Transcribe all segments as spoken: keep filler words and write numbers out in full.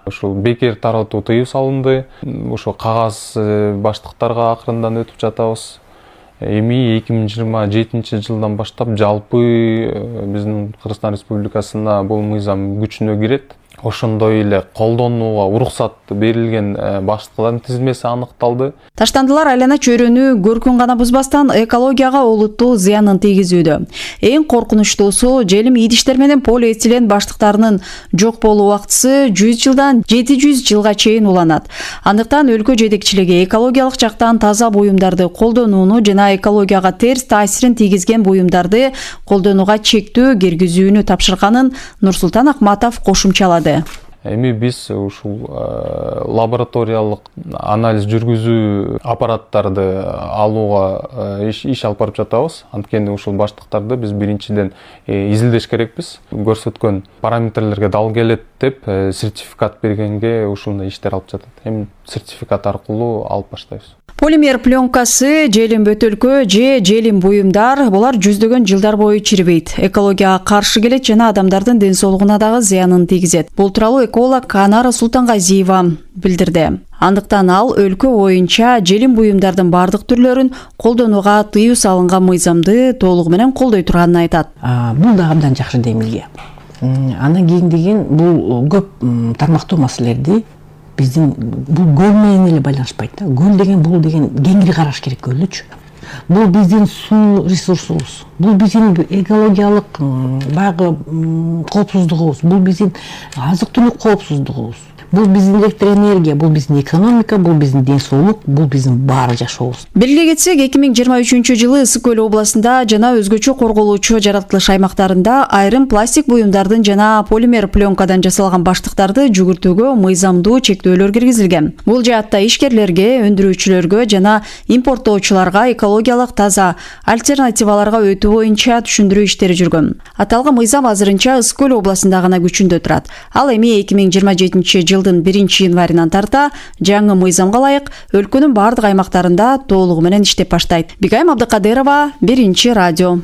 ушул бекер таратуу тыюу салынды. Ошо кагаз баштыктарга акырындан өтүп жатабыз. Эми эки миң жыйырма жетинчи жылдан баштап жалпы биздин Кыргызстан Республикасына бул мыйзам күчүнө кирет. Ошондой эле колдонууга уруксат берилген баштыктардын тизмеси аныкталды. Таштандылар айлана чөйрөнү көркүн гана бузбастан экологияга олуттуу зыянын тийгизүүдө. Эң коркунучтуусу желим идиштер менен полиэтилен баштыктарынын жок болуу убактысы жүз жылдан жети жүз жылга чейин уланат. Андыктан өлкө жетекчилиги экологиялык жактан таза буюмдарды колдонууну жана экологияга терс таасирин тийгизген буюмдарды колдонууга чектөө киргизүүнү тапшырганын Нурсултан Акматов кошумчалады. Эми биз ушул лабораториялык анализ жүргүзүү аппараттарды алууга иш, иш алып барып жатабыз. Анткени ушул баштыктарды биз биринчиден изилдеш керекпиз. Көрсөткөн параметрлерге дал келет деп сертификат бергенге ушундай иштер алып жатат. Эми сертификат аркылуу алып баштайбыз. Полимер пленкасы, желим бөтөлкө же желим буюмдар булар жүздөгөн жылдар бою чирибейт. Экологияга каршы келет жана адамдардын ден соолугуна дагы зыянын тийгизет. Бул тууралуу эколог Анара Султангазиева билдирди. Андыктан ал өлкө боюнча желим буюмдардын бардык түрлөрүн колдонууга тыюу салынган мыйзамды толугу менен колдой турганын айтат. Бул да абдан жакшы демилге. Андан кийин деген бул көп тармактуу маселелерди биздин бул көл менен эле байланышпайт да. Көл деген бул деген кеңири караш керек көлдүчү. Бул биздин суу ресурсубуз. Бул биздин экологиялык баягы коопсуздугубуз. Бул биздин азык-түлүк коопсуздугубуз. Бул биздин электроэнергия, бул биздин экономика, бул биздин ден соолук, бул биздин баары жашообуз. Белгилей кетсек, эки миң жыйырма үчүнчү жылы Ысык көл областында жана өзгөчө корголуучу жаратылыш аймактарында айрым пластик буюмдардын жана полимер пленкадан жасалган баштыктарды жүгүртүүгө мыйзамдуу чектөөлөр киргизилген. Бул жаатта ишкерлерге, өндүрүүчүлөргө жана импорттоочуларга экологиялык таза альтернативаларга өтүү боюнча түшүндүрүү иштери жүргөн. Аталган мыйзам азырынча Ысык көл областында гана күчүндө турат. Ал эми эки миң жыйырма жетинчи жылдын биринчи январынан тарта жаңы мыйзамга ылайык өлкөнүн бардык аймактарында толугу менен иштеп баштайт. Бигайым Абдыкадырова, Биринчи радио.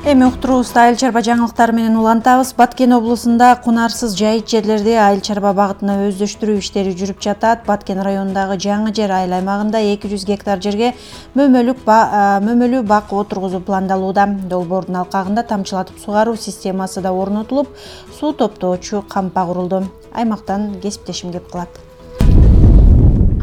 Эми уктуруубузду айыл чарба жаңылыктары менен улантабыз. Баткен облусунда кунарсыз жайыт жерлерди айыл чарба багытына өздөштүрүү иштери жүрүп жатат. Баткен районундагы жаңы жер айыл аймагында эки жүз гектар жерге мөмөлүк мөмөлүү бак отургузуу пландалууда. Долбоордун алкагында тамчылатып сугаруу системасы да орнотулуп, суу топтоочу кампа курулду. Аймактан кесиптешим кеп калат.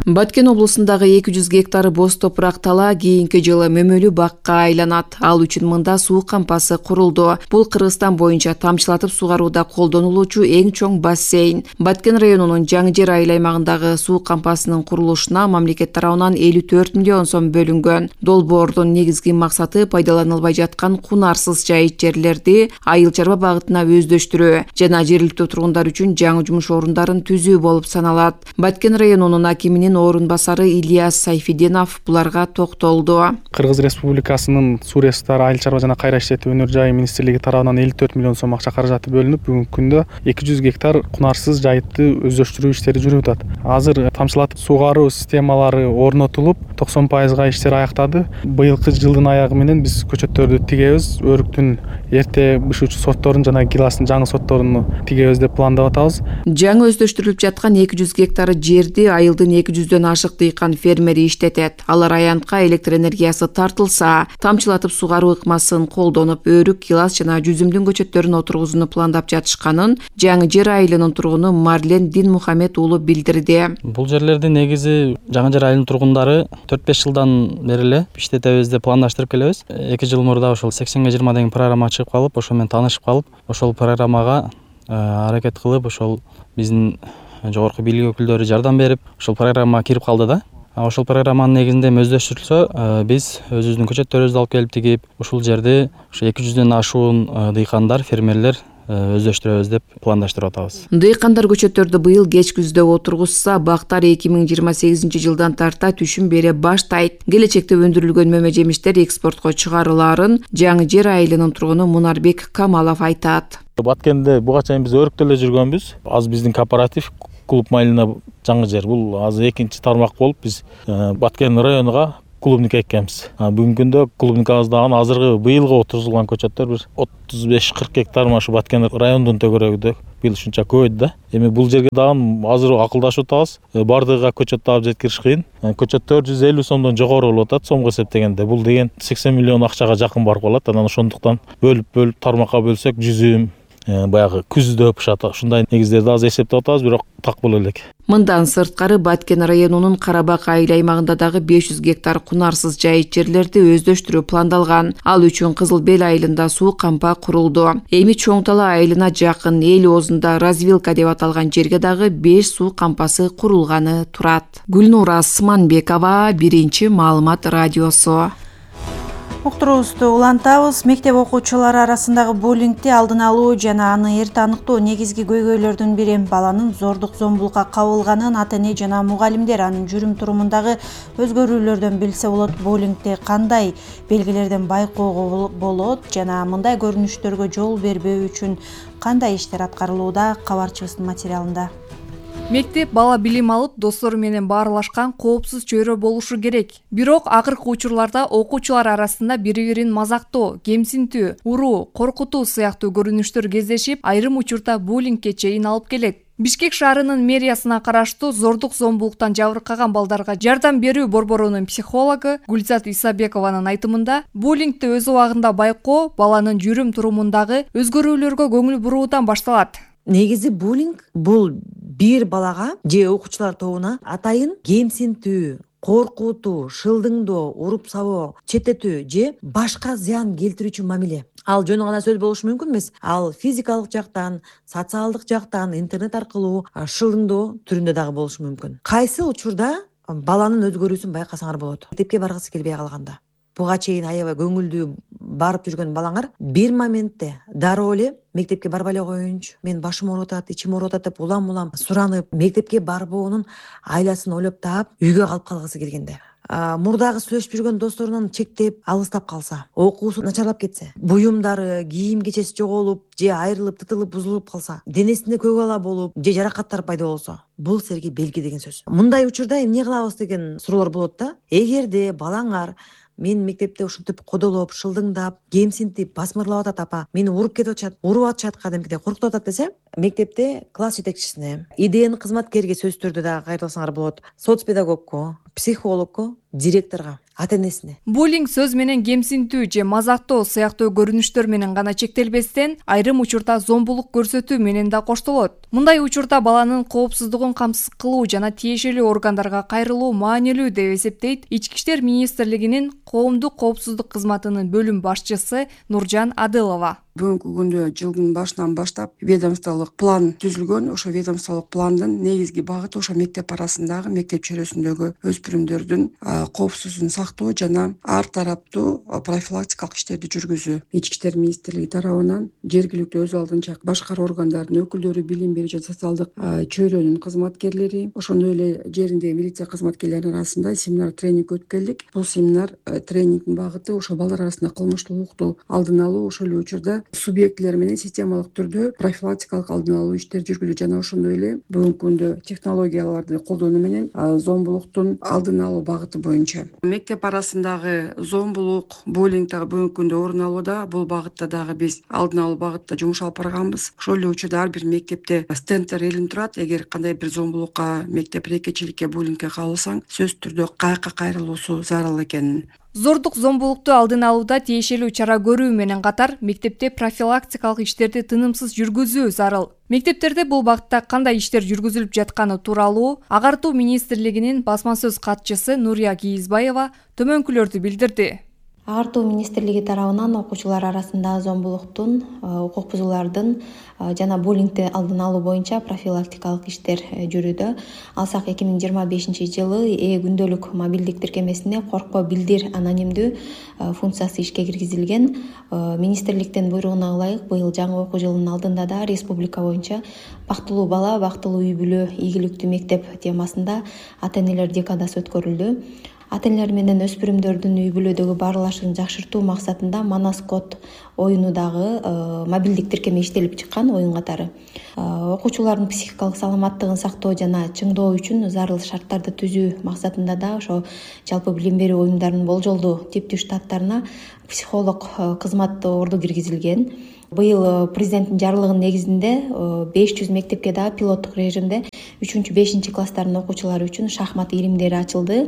Баткен облусундагы эки жүз гектары боз топурак тала кийинки жылы мөмөлүү бакка айланат. Ал үчүн мында суу кампасы курулду. Бул Кыргызстан боюнча тамчылатып сугарууда колдонулуучу эң чоң бассейн. Баткен районунун жаңы жер айыл аймагындагы суу кампасынын курулушуна мамлекет тарабынан элүү төрт миллион сом бөлүнгөн. Долбоордун негизги максаты пайдаланылбай жаткан кунарсыз жайыт жерлерди айыл чарба багытына өздөштүрүү жана жергиликтүү тургундар үчүн жаңы жумуш орундарын түзүү болуп саналат. Баткен районунун акиминин орун басары Ильяс Сайфиденов буларга токтолду. Кыргыз Республикасынын суу ресурстары айыл чарба жана кайра иштетүү өнөр жайы министрлиги тарабынан элүү төрт миллион сом акча каражаты бөлүнүп, бүгүнкү күндө эки жүз гектар кунарсыз жайытты өздөштүрүү иштери жүрүп атат. Азыр тамчылатып сугаруу системалары орнотулуп, токсон пайызга иштер аяктады. Быйылкы жылдын аягы менен биз көчөттөрдү тигебиз, өрүктүн эрте бышуучу сортторун жана гиластын жаңы сортторун тигебиз деп пландап атабыз. Жаңы өздөштүрүлүп жаткан эки жүз гектар жерди айылдын эки жүздөн ашык дыйкан фермери иштетет. Алар аянтка электр энергиясы тартылса, тамчылатып сугаруу ыкмасын колдонуп, өрүк, гилас жана жүзүмдүн көчөттөрүн отургузууну пландап жатышканын жаңы жер айылынын тургуну Марлен Динмухамед уулу билдирди. Бул жерлерди негизи жаңы жер айылынын тургундары төрт беш жылдан бери эле иштетебиз деп пландаштырып келебиз. эки жыл мурда ошол сексенге жыйырма деген программа чыгып калып, ошол менен таанышып калып, ошол программага аракет кылып, ошол биздин жогорку бийлик өкүлдөрү жардам берип, ошол программага кирип калды да. Ошол программанын негизинде өздөштүрүлсө, биз өзүбүздүн көчөттөрүбүздү алып келип тигип, ушул жерди ошо эки жүздөн ашуун дыйкандар, фермерлер өздөштүрөбүз деп пландаштырып атабыз. Дыйкандар көчөттөрдү быйыл кеч күздө отургузса, бактар эки миң жыйырма сегизинчи жылдан тарта түшүм бере баштайт. Келечекте өндүрүлгөн мөмө жемиштер экспортко чыгарылаарын жаңы жер айылынын тургуну Мунарбек Камалов айтат. Баткенде буга чейин биз өрүктө эле жүргөнбүз. Азыр биздин кооператив клуб майылына жаңы жер. Бул азыр экинчи тармак болуп биз Баткен районуга клубника экенбиз. Бүгүнкү күндө клубникабыздагы азыркы быйылғы отурузулган көчөттөр бир отуз беш кырк гектар машы Баткен районунун төгөрөгүдө быйыл ушунча көбөйдү да. Эми бул жерге дагы азыр акылдашып атабыз. Бардыгыга көчөт таап жеткириш кыйын. Көчөт төрт жүз элүү сомдон жогору болуп атат сомго эсептегенде. Бул деген сексен миллион акчага жакын барып калат. Анан ошондуктан бөлүп-бөлүп тармакка бөлсөк жүзүм, баягы күздө пышат, ушундай негиздерди азыр эсептеп атабыз, бирок так боло элек. Мындан сырткары Баткен районунун Карабак айыл аймагында дагы беш жүз гектар кунарсыз жайыт жерлерди өздөштүрүү пландалган. Ал үчүн Кызыл Бел айылында суу кампа курулду. Эми Чоң Тала айылына жакын эл оозунда развилка деп аталган жерге дагы беш суу кампасы курулганы турат. Гүлнура Асманбекова, Биринчи маалымат радиосу. Уктуруубузду улантабыз. Мектеп окуучулары арасындагы буллингди алдын алуу жана аны эрте аныктоо негизги көйгөйлөрдүн бири. Баланын зордук зомбулукка кабылганын ата-эне жана мугалимдер анын жүрүм турумундагы өзгөрүүлөрдөн билсе болот. Буллингди кандай белгилерден байкоого болот жана мындай көрүнүштөргө жол бербөө үчүн кандай иштер аткарылууда? Кабарчыбыздын материалында. Мектеп бала билим алып, достору менен баарлашкан коопсуз чөйрө болушу керек. Бирок акыркы учурларда окуучулар арасында бири-бирин мазактоо, кемсинтүү, уруу, коркутуу сыяктуу көрүнүштөр кездешип, айрым учурда буллингге чейин алып келет. Бишкек шаарынын мэриясына караштуу зордук зомбулуктан жабыркаган балдарга жардам берүү борборунун психологу Гүлзат Исабекованын айтымында, буллингди өз убагында байкоо баланын жүрүм турумундагы өзгөрүүлөргө көңүл буруудан башталат. Негизи буллинг бул бир балага же окуучулар тобуна атайын кемсинтүү, коркутуу, шылдыңдоо, уруп сабоо, четтетүү же башка зыян келтирүүчү мамиле. Ал жөн гана сөз болушу мүмкүн эмес. Ал физикалык жактан, социалдык жактан, интернет аркылуу шылдыңдоо түрүндө дагы болушу мүмкүн. Кайсы учурда баланын өзгөрүүсүн байкасаңар болот? Мектепке баргысы келбей калганда, буга чейин аябай көңүлдүү барып жүргөн балаңар бир моментте дароо эле мектепке барбай эле коеюнчу, мен башым ооруп атат, ичим ооруп атат деп улам-улам суранып, мектепке барбоонун айласын ойлоп таап, үйгө калып калгысы келгенде, мурдагы сүйлөшүп жүргөн досторунан чектеп, алыстап калса, окуусу начарлап кетсе, буюмдары, кийим кечеси жоголуп, же айрылып, тытылып, бузулуп калса, денесинде көк ала болуп, же жаракаттар пайда болсо, бул силерге белги деген сөз. Мындай учурда эмне кылабыз деген суроолор болот да. Эгерде балаңар мен мектепте ушинтип кодолоп, шылдыңдап, кемсинтип, басмырлап атат апа, мени уруп кетип атышат, уруп атышат кадимкидей коркутуп атат десе, мектепте класс жетекчисине, ИДН кызматкерге сөз түрдө дагы кайрылсаңар болот. Соц педагогко, психологко, директорго, ата-энесине. Буллинг сөз менен кемсинтүү же мазактоо сыяктуу көрүнүштөр менен гана чектелбестен, айрым учурда зомбулук көрсөтүү менен да коштолот. Мындай учурда баланын коопсуздугун камсыз кылуу жана тиешелүү органдарга кайрылуу маанилүү деп эсептейт Ички иштер министрлигинин коомдук коопсуздук кызматынын бөлүм башчысы Нуржан Адылова. Бүгүнкү күндө жылдын башынан баштап ведомстволук план түзүлгөн. Ошо ведомстволук пландын негизги багыты ошо мектеп арасындагы, мектеп чөйрөсүндөгү өспүрүмдөрдүн коопсуздугун сактоо жана ар тараптуу профилактикалык иштерди жүргүзүү. Ички иштер министрлиги тарабынан жергиликтүү өз алдынча башкаруу органдарынын өкүлдөрү, билим берүү жана социалдык чөйрөнүн кызматкерлери, ошондой эле жериндеги милиция кызматкерлеринин арасында семинар тренинг өткөрдүк. Бул семинар тренингдин багыты ошо балдар арасында кылмыштуулукту алдын алуу, ошол эле учурда субъектилер менен системалык түрдө профилактикалык алдын алуу иштер жүргүзүү жана ошондой эле бүгүнкү күндө технологияларды колдонуу менен зомбулуктун алдын алуу багыты боюнча. Мектеп арасындагы зомбулук, буллинг дагы бүгүнкү күндө орун алууда. Бул багытта дагы биз алдын алуу багытта жумуш алып барганбыз. Ошол эле учурда ар бир мектепте стендтер илинип турат. Эгер кандай бир зомбулукка, мектеп рекечиликке, буллингке кабылсаң, сөзсүз түрдө каяка кайрылуусу зарыл экенин. Зордук зомбулукту алдын алууда тиешелүү чара көрүү менен катар мектепте профилактикалык иштерди тынымсыз жүргүзүү зарыл. Мектептерде бул багытта кандай иштер жүргүзүлүп жатканы тууралуу Агартуу министрлигинин басма сөз катчысы Нурия Кийизбаева төмөнкүлөрдү билдирди. Агартуу министрлиги тарабынан окуучулар арасында зомбулуктун, укук бузуулардын жана буллингди алдын алуу боюнча профилактикалык иштер жүрүүдө. Алсак эки миң жыйырма бешинчи жылы э күндөлүк мобилдик тиркемесине коркпо билдир анонимдүү функциясы ишке киргизилген. Министрликтин буйругуна ылайык быйыл жаңы окуу жылынын алдында да республика боюнча бактылуу бала, бактылуу үй бүлө, ийгиликтүү мектеп темасында ата-энелер декадасы өткөрүлдү. ата энелер менен өспүрүмдөрдүн үй бүлөдөгү баарлашыгын жакшыртуу максатында Манас код оюну дагы мобилдик тиркеме иштелип чыккан оюн катары. Окуучулардын психикалык саламаттыгын сактоо жана чыңдоо үчүн зарыл шарттарды түзүү максатында да ошо жалпы билим берүү уюмдарынын болжолдуу типтүү штаттарына психолог кызмат орду киргизилген. Быйыл президенттин жарлыгынын негизинде беш жүз мектепке да пилоттук режимде үчүнчү бешинчи класстардын окуучулары үчүн шахмат илимдери ачылды.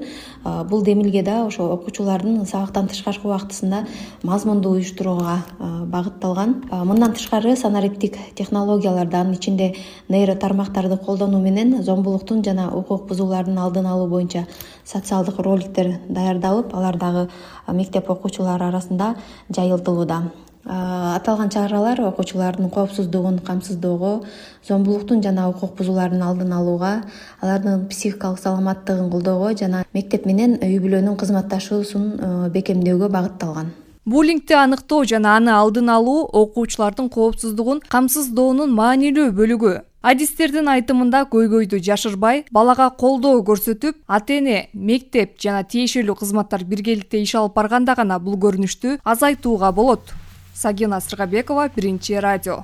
Бул демилге да ошо окуучулардын сабактан тышкаркы убактысында мазмундуу уюштурууга багытталган. Мындан тышкары санариптик технологияларды, анын ичинде нейро тармактарды колдонуу менен зомбулуктун жана укук бузуулардын алдын алуу боюнча социалдык роликтер даярдалып, алар дагы мектеп окуучулары арасында жайылтылууда. Аталган чаралар окуучулардын коопсуздугун камсыздоого, зомбулуктун жана укук бузуулардын алдын алууга, алардын психикалык саламаттыгын колдоого жана мектеп менен үй бүлөнүн кызматташуусун бекемдөөгө багытталган. Буллингди аныктоо жана аны алдын алуу окуучулардын коопсуздугун камсыздоонун маанилүү бөлүгү. Адистердин айтымында көйгөйдү жашырбай, балага колдоо көрсөтүп, ата-эне, мектеп жана тиешелүү кызматтар биргеликте иш алып барганда гана бул көрүнүштү азайтууга болот. Сагина Сыргабекова, Биринчи радио.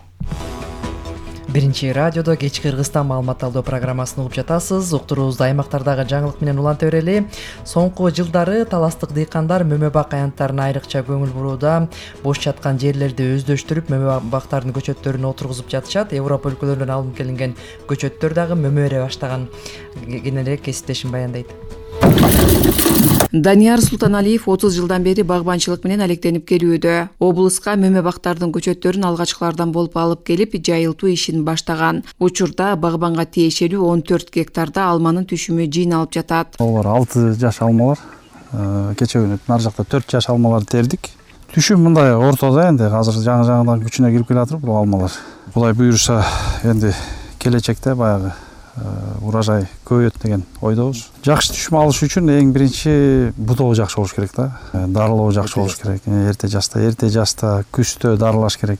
Биринчи радиодо кечки Кыргызстан маалымат алуу программасын угуп жатасыз. Уктуруубузду аймактардагы жаңылык менен уланта берели. Соңку жылдары таластык дыйкандар мөмө бак аянттарына айрыкча көңүл бурууда. Бош жаткан жерлерди өздөштүрүп, мөмө бактардын көчөттөрүн отургузуп жатышат. Европа өлкөлөрүнөн алынып келинген көчөттөр дагы мөмө эре баштаган. Кененирээк кесиптешим баяндайт. Данияр Султаналиев отуз жылдан бери багбанчылык менен алектенип келүүдө. Облуска мөмө бактардын көчөттөрүн алгачкылардан болуп алып келип, жайылтуу ишин баштаган. Учурда багбанга тиешелүү он төрт гектарда алманын түшүмү жыйналып жатат. Олар алты жаш алмалар. Кече күнү нар жакта төрт жаш алмаларды тердик. Түшүм мындай ортодо энди, азыр жаңы жаңыдан күчүнө кирип келатыр бул алмалар. Кудай буйруса, энди келечекте баягы урожай көбөйөт деген ойдобуз. Жакшы түшүм алыш үчүн эң биринчи бутоо жакшы болуш керек да. Дарылоо жакшы болуш керек. Эрте жашта, эрте жашта, күздө дарылаш керек.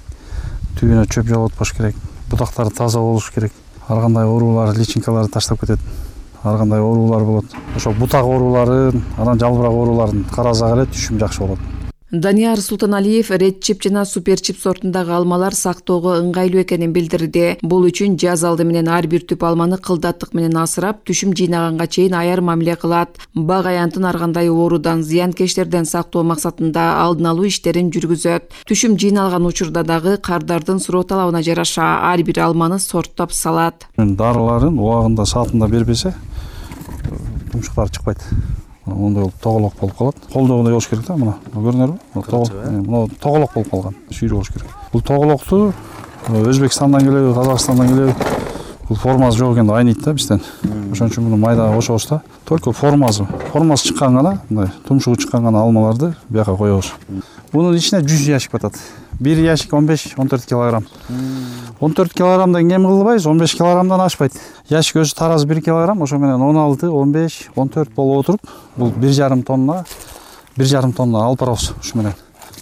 Түбүнө чөп жолотпош керек. Бутактары таза болуш керек. Ар кандай оорулар, личинкаларды таштап кетет. Ар кандай оорулар болот. Ошо бутак ооруларын, анан жалбырак ооруларын карасак эле түшүм жакшы болот. Данияр Султаналиев Ред Чип жана Супер Чип сортундагы алмалар сактоого ыңгайлуу экенин билдирди. Бул үчүн жаз алды менен ар бир түп алманы кылдаттык менен асырап, түшүм жыйнаганга чейин аяр мамиле кылат. Бак аянтын ар кандай оорудан, зыянкечтерден сактоо максатында алдын алуу иштерин жүргүзөт. Түшүм жыйналган учурда дагы кардардын суроо талабына жараша ар бир алманы сорттоп салат. Дарыларын убагында, саатында бербесе, тумшуктар чыкпайт. Ондай болуп тоголок болуп калат. Колдогондой болуш керек да, мына. Көрүнөрбү? Мына тоголок болуп калган. Шүйрө болуш керек. Бул тоголокту Өзбекстандан келеби, Казакстандан келеби, бул формасы жок экен, айныйт да бизден. Ошон үчүн муну майдага кошобуз да. Только формасы, формасы чыккан гана, мындай тумшугу чыккан гана алмаларды бияка коебуз. Бунун ичине жүз ящик батат. Бир ящик он беш он төрт килограмм. он төрт килограммдан кем кылбайбыз, он беш килограммдан ашпайт. Ящик өзү таразы бир килограмм, ошо менен он алты, он беш, он төрт болуп отуруп, бул бир жарым тонна, бир жарым тонна алып барабыз ушу менен.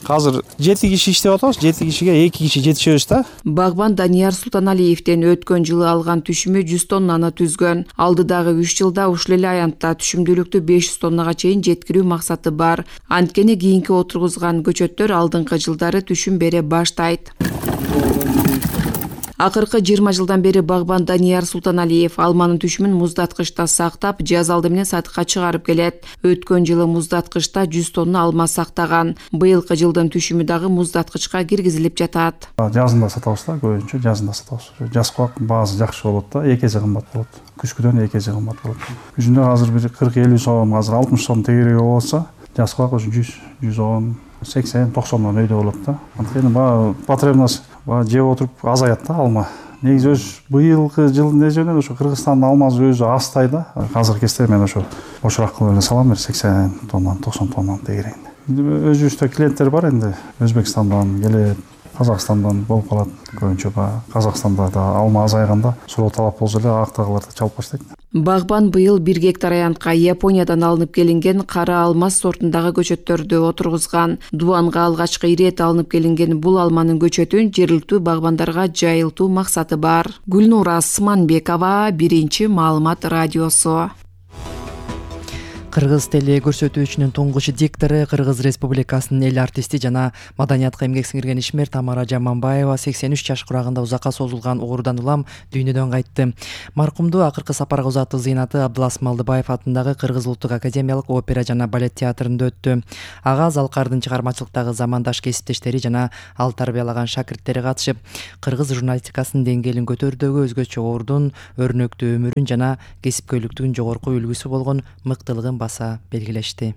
Азыр жети киши иштеп атабыз, жети кишиге эки киши жетишебиз да. Багбан Данияр Султаналиевден өткөн жылы алган түшүмү жүз тоннаны түзгөн. Алдыдагы үч жылда ушул эле аянтта түшүмдүүлүктү беш жүз тоннага чейин жеткирүү максаты бар. Анткени кийинки отургузган көчөттөр алдыңкы жылдары түшүм бере баштайт. Акыркы жыйырма жылдан бери багбан Данияр Султаналиев алманын түшүмүн муздаткычта сактап, жаз алды менен сатыкка чыгарып келет. Өткөн жылы муздаткычта жүз тонна алма сактаган. Быйылкы жылдын түшүмү дагы муздаткычка киргизилип жатат. Жазында сатабыз да, көбүнчө жазында сатабыз. Жаз кубак баасы жакшы болот да, эки эсе кымбат болот. Күзгүдөн эки эсе кымбат болот. Күзүндө азыр бир кырк элүү сом, азыр алтымыш сом тегереги болуп атса, жаз кубак ушу жүз, жүз он, сексен, токсондон өйдө болот да. Анткени баягы потребность баягы жеп отуруп азаят да алма. Негизи өз быйылкы жылдын эсебинен ошо Кыргызстандын алмасы өзү азтай да. Азыр кезде мен ошо бошураак кылып эле салам, бир сексен тоннан, токсон тоннан тегерегинде. Өзүбүздө клиенттер бар энди, Өзбекстандан келет, Казакстандан болуп калат. Көбүнчө баягы Казакстанда да алма азайганда суроо талап болсо эле актагыларды чалып баштайт. Багбан быйыл бир гектар аянтка Япониядан алынып келинген кара алмаз сортундагы көчөттөрдү отургузган. Дубанга алгачкы ирет алынып келинген бул алманын көчөтүн жергиликтүү багбандарга жайылтуу максаты бар. Гүлнура Сманбекова, Биринчи маалымат радиосу. Кыргыз теле көрсөтүүчүнүн туңгуч диктору, Кыргыз Республикасынын эл артисти жана маданиятка эмгек сиңирген ишмер Тамара Жаманбаева сексен үч жаш курагында узакка созулган оорудан улам дүйнөдөн кайтты. Маркумду акыркы сапарга узатуу зыйнаты Абдылас Малдыбаев атындагы Кыргыз улуттук академиялык опера жана балет театрында өттү. Ага Залкардын чыгармачылыктагы замандаш кесиптештери жана ал тарбиялаган шакирттери катышып, кыргыз журналистикасынын деңгээлин көтөрүүдөгү өзгөчө ордун, өрнөктүү өмүрүн жана кесипкөйлүктүн жогорку үлгүсү болгон мыктылыгын баса белгилешти.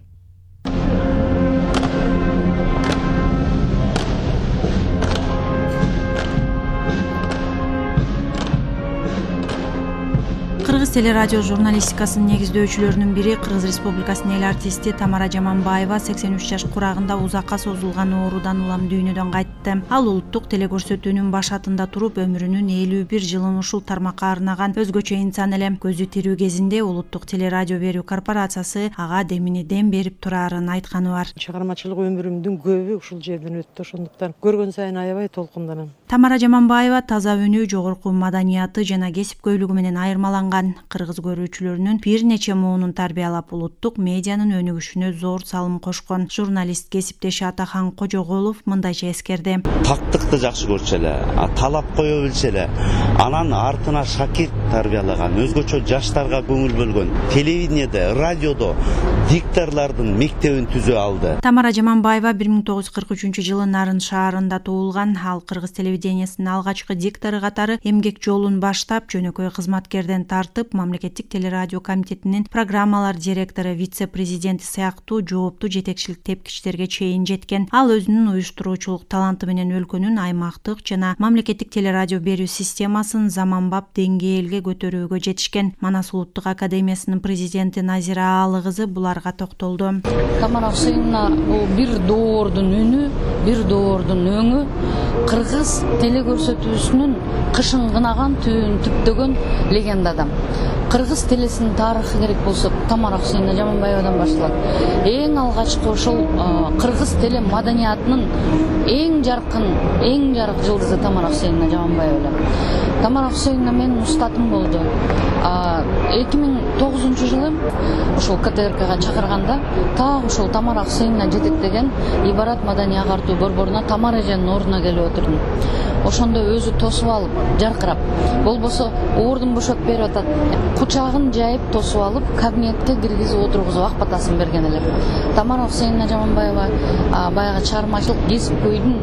Кыргыз телерадио журналистикасынын негиздөөчүлөрүнүн бири Кыргыз Республикасынын эл артисти Тамара Жаманбаева сексен үч жаш курагында узакка созулган оорудан улам дүйнөдөн кайтты. Ал улуттук телекөрсөтүүнүн башатында туруп өмүрүнүн элүү бир жылын ушул тармакка арнаган өзгөчө инсан эле. Көзү тирүү кезинде улуттук телерадио берүү корпорациясы ага демини дем берип турарын айтканы бар. Чыгармачылык өмүрүмдүн көбү ушул жерден өттү, ошондуктан көргөн сайын аябай толкунданам. Тамара Жаманбаева таза үнү, жогорку маданияты жана кесипкөйлүгү менен айырмаланган. Кыргыз көрүүчүлөрүнүн бир нече муунун тарбиялап, улуттук медианын өнүгүшүнө зор салым кошкон. Журналист кесиптеши Атахан Кожоголов мындайча эскерди. Тактыкты жакшы көрчү эле, талап кое билчү эле. Анан артына шакирт тарбиялаган, өзгөчө жаштарга көңүл бөлгөн. Телевидениеде, радиодо дикторлордун мектебин түзө алды. Тамара Жаманбаева бир миң тогуз жүз кырк үчүнчү жылы Нарын шаарында туулган. Ал кыргыз телевидениясынын алгачкы диктору катары эмгек жолун баштап, жөнөкөй кызматкерден тартып, мамлекеттик телерадио комитетинин программалар директору, вице-президенти сыяктуу жооптуу жетекчилик тепкичтерге чейин жеткен. Ал өзүнүн уюштуруучулук таланты менен өлкөнүн аймактык жана мамлекеттик телерадио берүү системасын заманбап деңгээлге көтөрүүгө жетишкен. Манас улуттук академиясынын президенти Назира Аалы кызы буларга токтолду. Тамара Хусейновна бул бир доордун үнү, бир доордун өңү, кыргыз телекөрсөтүүсүнүн кышын кынаган, түбүн түптөгөн легенда адам. Кыргыз телесинин тарыхы керек болсо Тамара Хусейновна Жаманбаевадан башталат. Эң алгачкы ошол кыргыз теле маданиятынын эң жаркын, эң жарык жылдызы Тамара Хусейновна Жаманбаева эле. Тамара Хусейновна менин устатым болду. эки миң тогузунчу жылы ошол ка тэ эр кага чакырганда так ошол Тамара Хусейновна жетектеген Ибарат маданий агартуу борборуна Тамара эженин ордуна келип отурдум. Ошондо өзү тосуп алып, жаркырап, болбосо ордун бошотуп берип атат. Кучагын жайып тосуп алып, кабинетке киргизип отургузуп ак батасын берген эле. Тамара Хусейновна Жаманбаева баягы чыгармачылык кесипкөйдүн,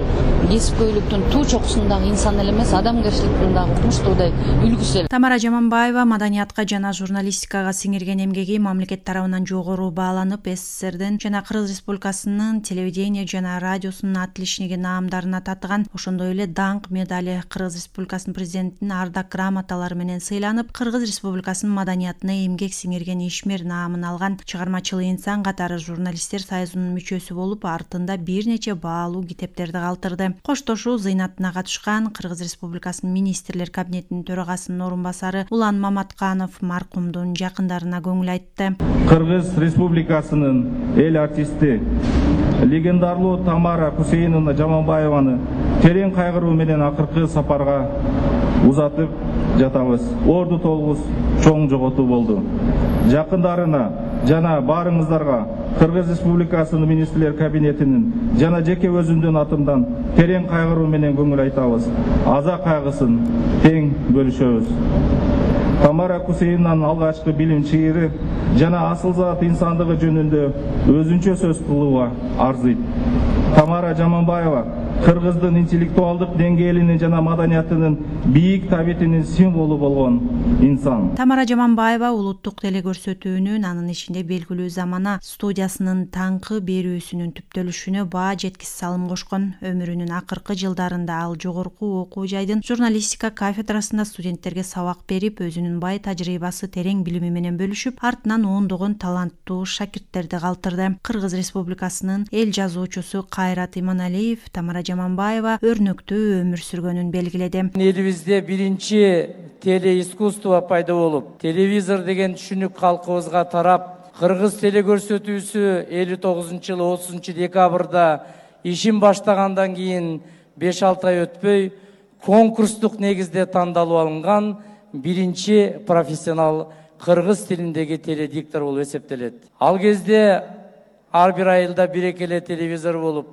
кесипкөйлүктүн туу чокусундагы инсан эле эмес, адамгерчиликтин дагы укмуштуудай үлгүсү эле. Тамара Жаманбаева маданиятка жана журналистикага сиңирген эмгеги мамлекет тарабынан жогору бааланып, эс эс эрдин жана Кыргыз Республикасынын телевидение жана радиосунун отличниги наамдарына татыган. Ошондой эле даңк медали, Кыргыз Республикасынын президентинин ардак грамоталары менен сыйланып, Кыргыз Республикасынын маданиятына эмгек сиңирген ишмер наамын алган. Чыгармачыл инсан катары журналисттер союзунун мүчөсү болуп, артында бир нече баалуу китептерди калтырды. Коштошуу зыйнатына катышкан Кыргыз Республикасынын министрлер кабинетинин төрагасынын орун басары Улан Маматканов маркумдун жакындарына көңүл айтты. Кыргыз Республикасынын эл артисти легендарлуу Тамара Хусейновна Жаманбаеваны терең кайгыруу менен акыркы сапарга узатып жатабыз. Орду толгус чоң жоготуу болду. Жакындарына жана баарыңыздарга Кыргыз Республикасынын министрлер кабинетинин жана жеке өзүмдүн атымдан терең кайгыруу менен көңүл айтабыз. Аза кайгысын тең бөлүшөбүз. Тамара Хусейновнанын алгачкы билим чыйыры жана асыл-зат инсандыгы жөнүндө өзүнчө сөз кылууга арзыйт. Тамара Жаманбаева кыргыздын интеллектуалдык деңгээлинин жана маданиятынын бийик табитинин символу болгон инсан. Тамара Жаманбаева улуттук телекөрсөтүүнүн, анын ичинде белгилүү Замана студиясынын таңкы берүүсүнүн түптөлүшүнө баа жеткис салым кошкон. Өмүрүнүн акыркы жылдарында ал жогорку окуу жайдын журналистика кафедрасында студенттерге сабак берип, өзүнүн бай тажрыйбасы, терең билими менен бөлүшүп, артынан ондогон таланттуу шакирттерди калтырды. Кыргыз Республикасынын эл жазуучусу Кайрат Иманалиев Тамара Жаманбаева өрнөктүү өмүр сүргөнүн белгиледи. Элибизде биринчи телеискусство пайда болуп, телевизор деген түшүнүк калкыбызга тарап, Кыргыз телекөрсөтүүсү элүү тогузунчу жылы отузунчу декабрда ишин баштагандан кийин беш алты ай өтпөй конкурстук негизде тандалып алынган биринчи профессионал кыргыз тилиндеги теледиктор болуп эсептелет. Ал кезде ар бир айылда бир эле телевизор болуп,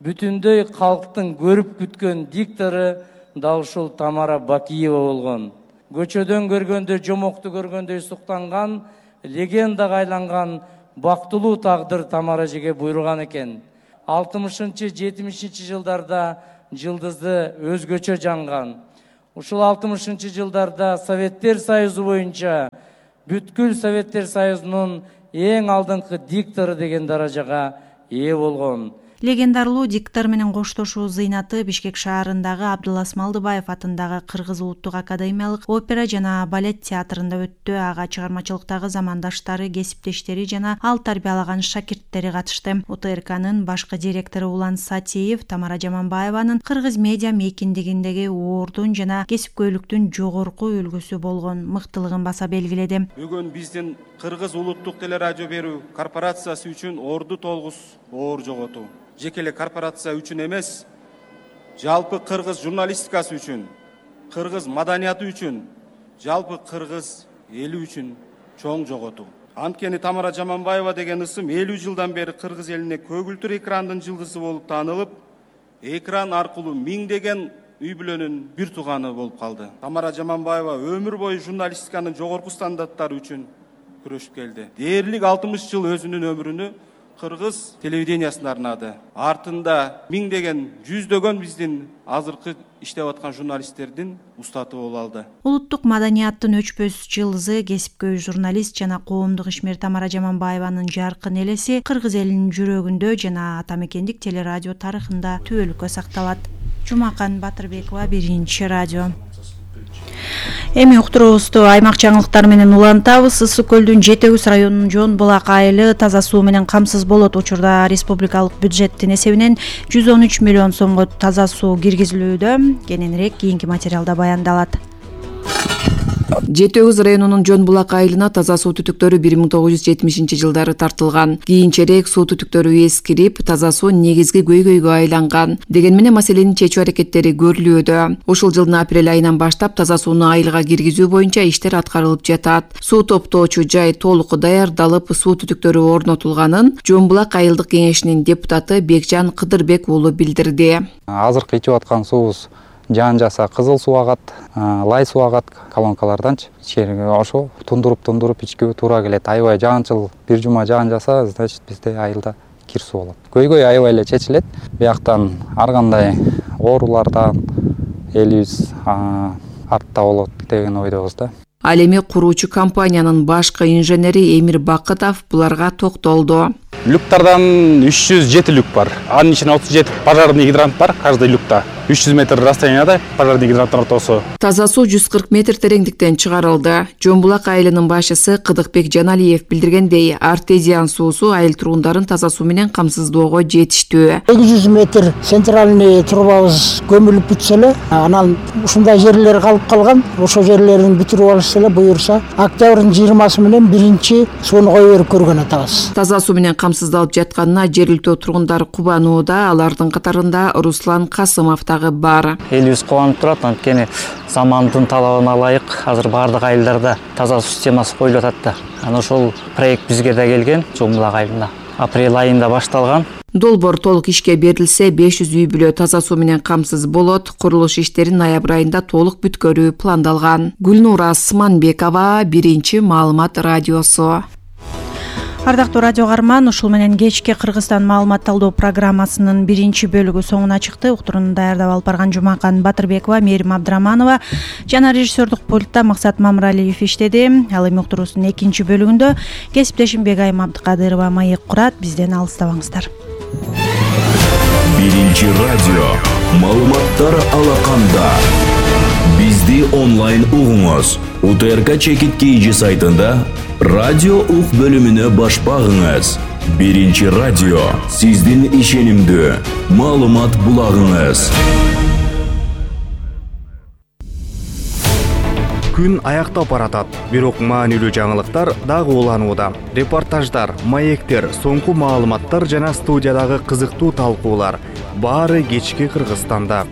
бүтүндөй калктын көрүп күткөн диктору да ушул Тамара Бакиева болгон. Көчөдөн көргөндө, жомокту көргөндөй суктанган, легендага айланган бактылуу тагдыр Тамара эжеге буйруган экен. алтымышынчы жетимишинчи жылдарда жылдызы өзгөчө жанган. Ушул алтымышынчы жылдарда Советтер Союзу боюнча бүткүл Советтер Союзунун эң алдыңкы диктору деген даражага ээ болгон. Легендарлуу диктор менен коштошуу зыйнаты Бишкек шаарындагы Абдулас Малдыбаев атындагы Кыргыз Улуттук академиялык опера жана балет театрында өттү. Ага чыгармачылыктагы замандаштары, кесиптештери жана ал тарбиялаган шакирттери катышты. О Т Р К'нын башкы директору Улан Сатиев Тамара Жаманбаеванын кыргыз медиа мейкиндигиндеги оордун жана кесипкөйлүктүн жогорку үлгүсү болгон мыктылыгын баса белгиледи. Бүгүн биздин Кыргыз Улуттук телерадио берүү корпорациясы үчүн орду толгус оор жоготуу. Жеке эле корпорация үчүн эмес, жалпы кыргыз журналистикасы үчүн, кыргыз маданияты үчүн, жалпы кыргыз эли үчүн чоң жоготуу. Анткени Тамара Жаманбаева деген ысым элүү жылдан бери кыргыз элине көгүлтүр экрандын жылдызы болуп таанылып, экран аркылуу миңдеген үй бүлөнүн бир тууганы болуп калды. Тамара Жаманбаева өмүр бою журналистиканын жогорку стандарттары үчүн күрөшүп келди. Дээрлик алтымыш жыл өзүнүн өмүрүнү кыргыз телевидениясына арнады. Артында миңдеген, жүздөгөн биздин азыркы иштеп аткан журналисттердин устаты болуп алды. Улуттук маданияттын өчпөс жылдызы, кесипкөй журналист жана коомдук ишмер Тамара Жаманбаеванын жаркын элеси кыргыз элинин жүрөгүндө жана атамекендик телерадио тарыхында түбөлүккө сакталат. Жумакан Батырбекова, Биринчи радио. Эми уктуруубузду аймак жаңылыктары менен улантабыз. Ысык көлдүн Жети Көз районунун Жон Булак айылы таза суу менен камсыз болот. Учурда республикалык бюджеттин эсебинен жүз он үч миллион сомго таза суу киргизилүүдө. Кененирээк кийинки материалда баяндалат. Жети Көз районунун Жон Булак айылына таза суу түтүктөрү бир миң тогуз жүз жетимишинчи жылдары тартылган. Кийинчерээк суу түтүктөрү эскирип, таза суу негизги көйгөйгө айланган. Дегени менен маселени чечүү аракеттери көрүлүүдө. Ушул жылдын апрель айынан баштап таза сууну айылга киргизүү боюнча иштер аткарылып жатат. Суу топтоочу жай толук даярдалып, суу түтүктөрү орнотулганын Жон Булак айылдык кеңешинин депутаты Бекжан Кыдырбек уулу билдирди. Азыркы ичип аткан суубуз жаан жаса кызыл суу агат, лай суу агат колонкаларданчы. Ичкерге ошо тундуруп-тундуруп ичкебе туура келет. Аябай жаанчыл бир жума жаан жаса, значит бизде айылда кир суу болот. Көйгөй аябай эле чечилет. Бияктан ар кандай оорулардан элибиз артта болот деген ойдобуз да. Ал эми куруучу компаниянын башкы инженери Эмир Бакытов буларга токтолду. Люктардан үч жүз жети люк бар. Анын ичинде отуз жети пожарный гидрант бар, каждый люкта. үч жүз метр расстоянияда пожарный гидранттын ортосу. Таза суу жүз кырк метр тереңдиктен чыгарылды. Жон Булак айылынын башчысы Кыдыкбек Жаналиев билдиргендей, артезиан суусу айыл тургундарын таза суу менен камсыздоого жетиштүү. эки жүз метр центральный трубабыз көмүлүп бүтсө эле, анан ушундай жерлер калып калган. Ошо жерлерин бүтүрүп алышса эле, буюрса октябрдын жыйырмасы менен биринчи сууну кое берип көргөн атабыз. Таза суу менен камсыздалып жатканына жергиликтүү тургундар кубанууда, алардын катарында Руслан Касымов бар. Элибиз кубанып турат, анткени замандын талабына ылайык азыр бардык айылдарда таза суу системасы коюлуп атат да. Анан ошол проект бизге да келген, Жон Булак айылында. Апрель айында башталган. Долбоор толук ишке берилсе, беш жүз үй бүлө таза суу менен камсыз болот. Курулуш иштерин ноябрь айында толук бүткөрүү пландалган. Гүлнура Сманбекова, Биринчи маалымат радиосу. Ардактуу радио каарман, ушул менен кечки Кыргызстан маалымат талдоо программасынын биринчи бөлүгү соңуна чыкты. Уктурууну даярдап алып барган Жумакан Батырбекова, Мээрим Абдыраманова жана режиссердук пультта Максат Мамралиев иштеди. Ал эми уктуруусунун экинчи бөлүгүндө кесиптешим Бегайым Абдыкадырова маек курат. Бизден алыстабаңыздар. Биринчи радио маалыматтар алаканда. Бизди онлайн угуңуз. У Т Р К чекит кейжи сайтында радио ук бөлүмүнө баш багыңыз. Биринчи радио сиздин ишенимдүү маалымат булагыңыз. Күн аяктап баратат, бирок маанилүү жаңылыктар дагы уланууда. Репортаждар, маектер, соңку маалыматтар жана студиядагы кызыктуу талкуулар баары кечки Кыргызстанда.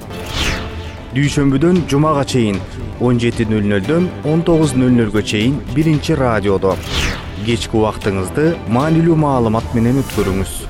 дүйшөмбүдөн жумага чейин он жети нөл нөлдөн он тогуз нөл нөлгө чейин биринчи радиодо. Кечки убактыңызды маанилүү маалымат менен өткөрүңүз.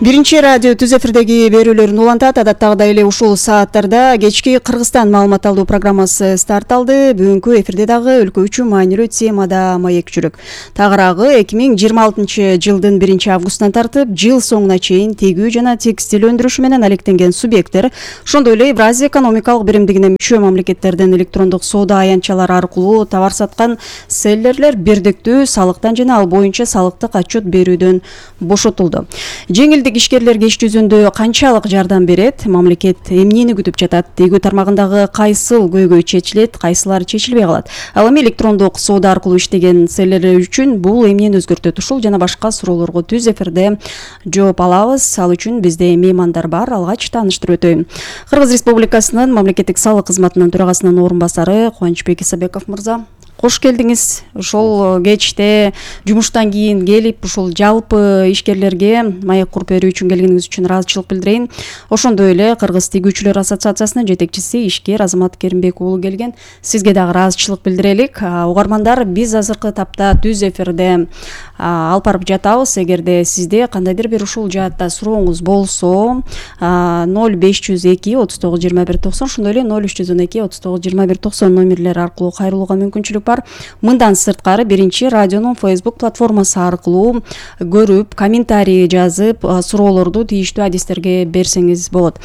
Биринчи радио түз эфирдеги берүүлөрүн улантат. Адаттагыдай эле ушул сааттарда кечки Кыргызстан маалымат алуу программасы старт алды. Бүгүнкү эфирде дагы өлкө үчүн маанилүү темада маек жүрөк. Тагыраагы эки миң жыйырма алтынчы жылдын биринчи августунан тартып жыл соңуна чейин тегүү жана текстиль өндүрүшү менен алектенген субъекттер, ошондой эле Евразия экономикалык биримдигине мүчө мамлекеттерден электрондук соода аянтчалары аркылуу товар саткан селлерлер бирдиктүү салыктан жана ал боюнча салыктык отчет берүүдөн бошотулду. Жеңилдик ишкерлерге иш жүзүндө канчалык жардам берет? Мамлекет эмнени күтүп жатат? Тегүү тармагындагы кайсыл көйгөй чечилет, кайсылары чечилбей калат? Ал эми электрондук соода аркылуу иштеген селлерлер үчүн бул эмнени өзгөртөт? Ушул жана башка суроолорго түз эфирде жооп алабыз. Ал үчүн бизде меймандар бар. Алгач тааныштырып өтөйм. Кыргыз Республикасынын мамлекеттик салык кызматынын төрагасынын орун басары Кубанычбек Исабеков мырза, кош келдиңиз. Ошол кечте жумуштан кийин келип, ушул жалпы ишкерлерге маек куруп берүү үчүн келгениңиз үчүн ыраазычылык билдирейин. Ошондой эле Кыргыз тегүүчүлөр ассоциациясынын жетекчиси ишкер Азамат Керимбек уулу келген. Сизге дагы ыраазычылык билдирелик. Угармандар, биз азыркы тапта түз эфирде алып барып жатабыз. Эгерде сизде кандайдыр бир ушул жаатта сурооңуз болсо, ноль беш жүз эки отуз тогуз жыйырма бир токсон, ошондой эле ноль үч жүз он эки отуз тогуз жыйырма бир токсон номерлери аркылуу кайрылууга мүмкүнчүлүк бар. Мындан сырткары биринчи радионун Facebook платформасы аркылуу көрүп, комментарий жазып, суроолорду тийиштүү адистерге берсеңиз болот.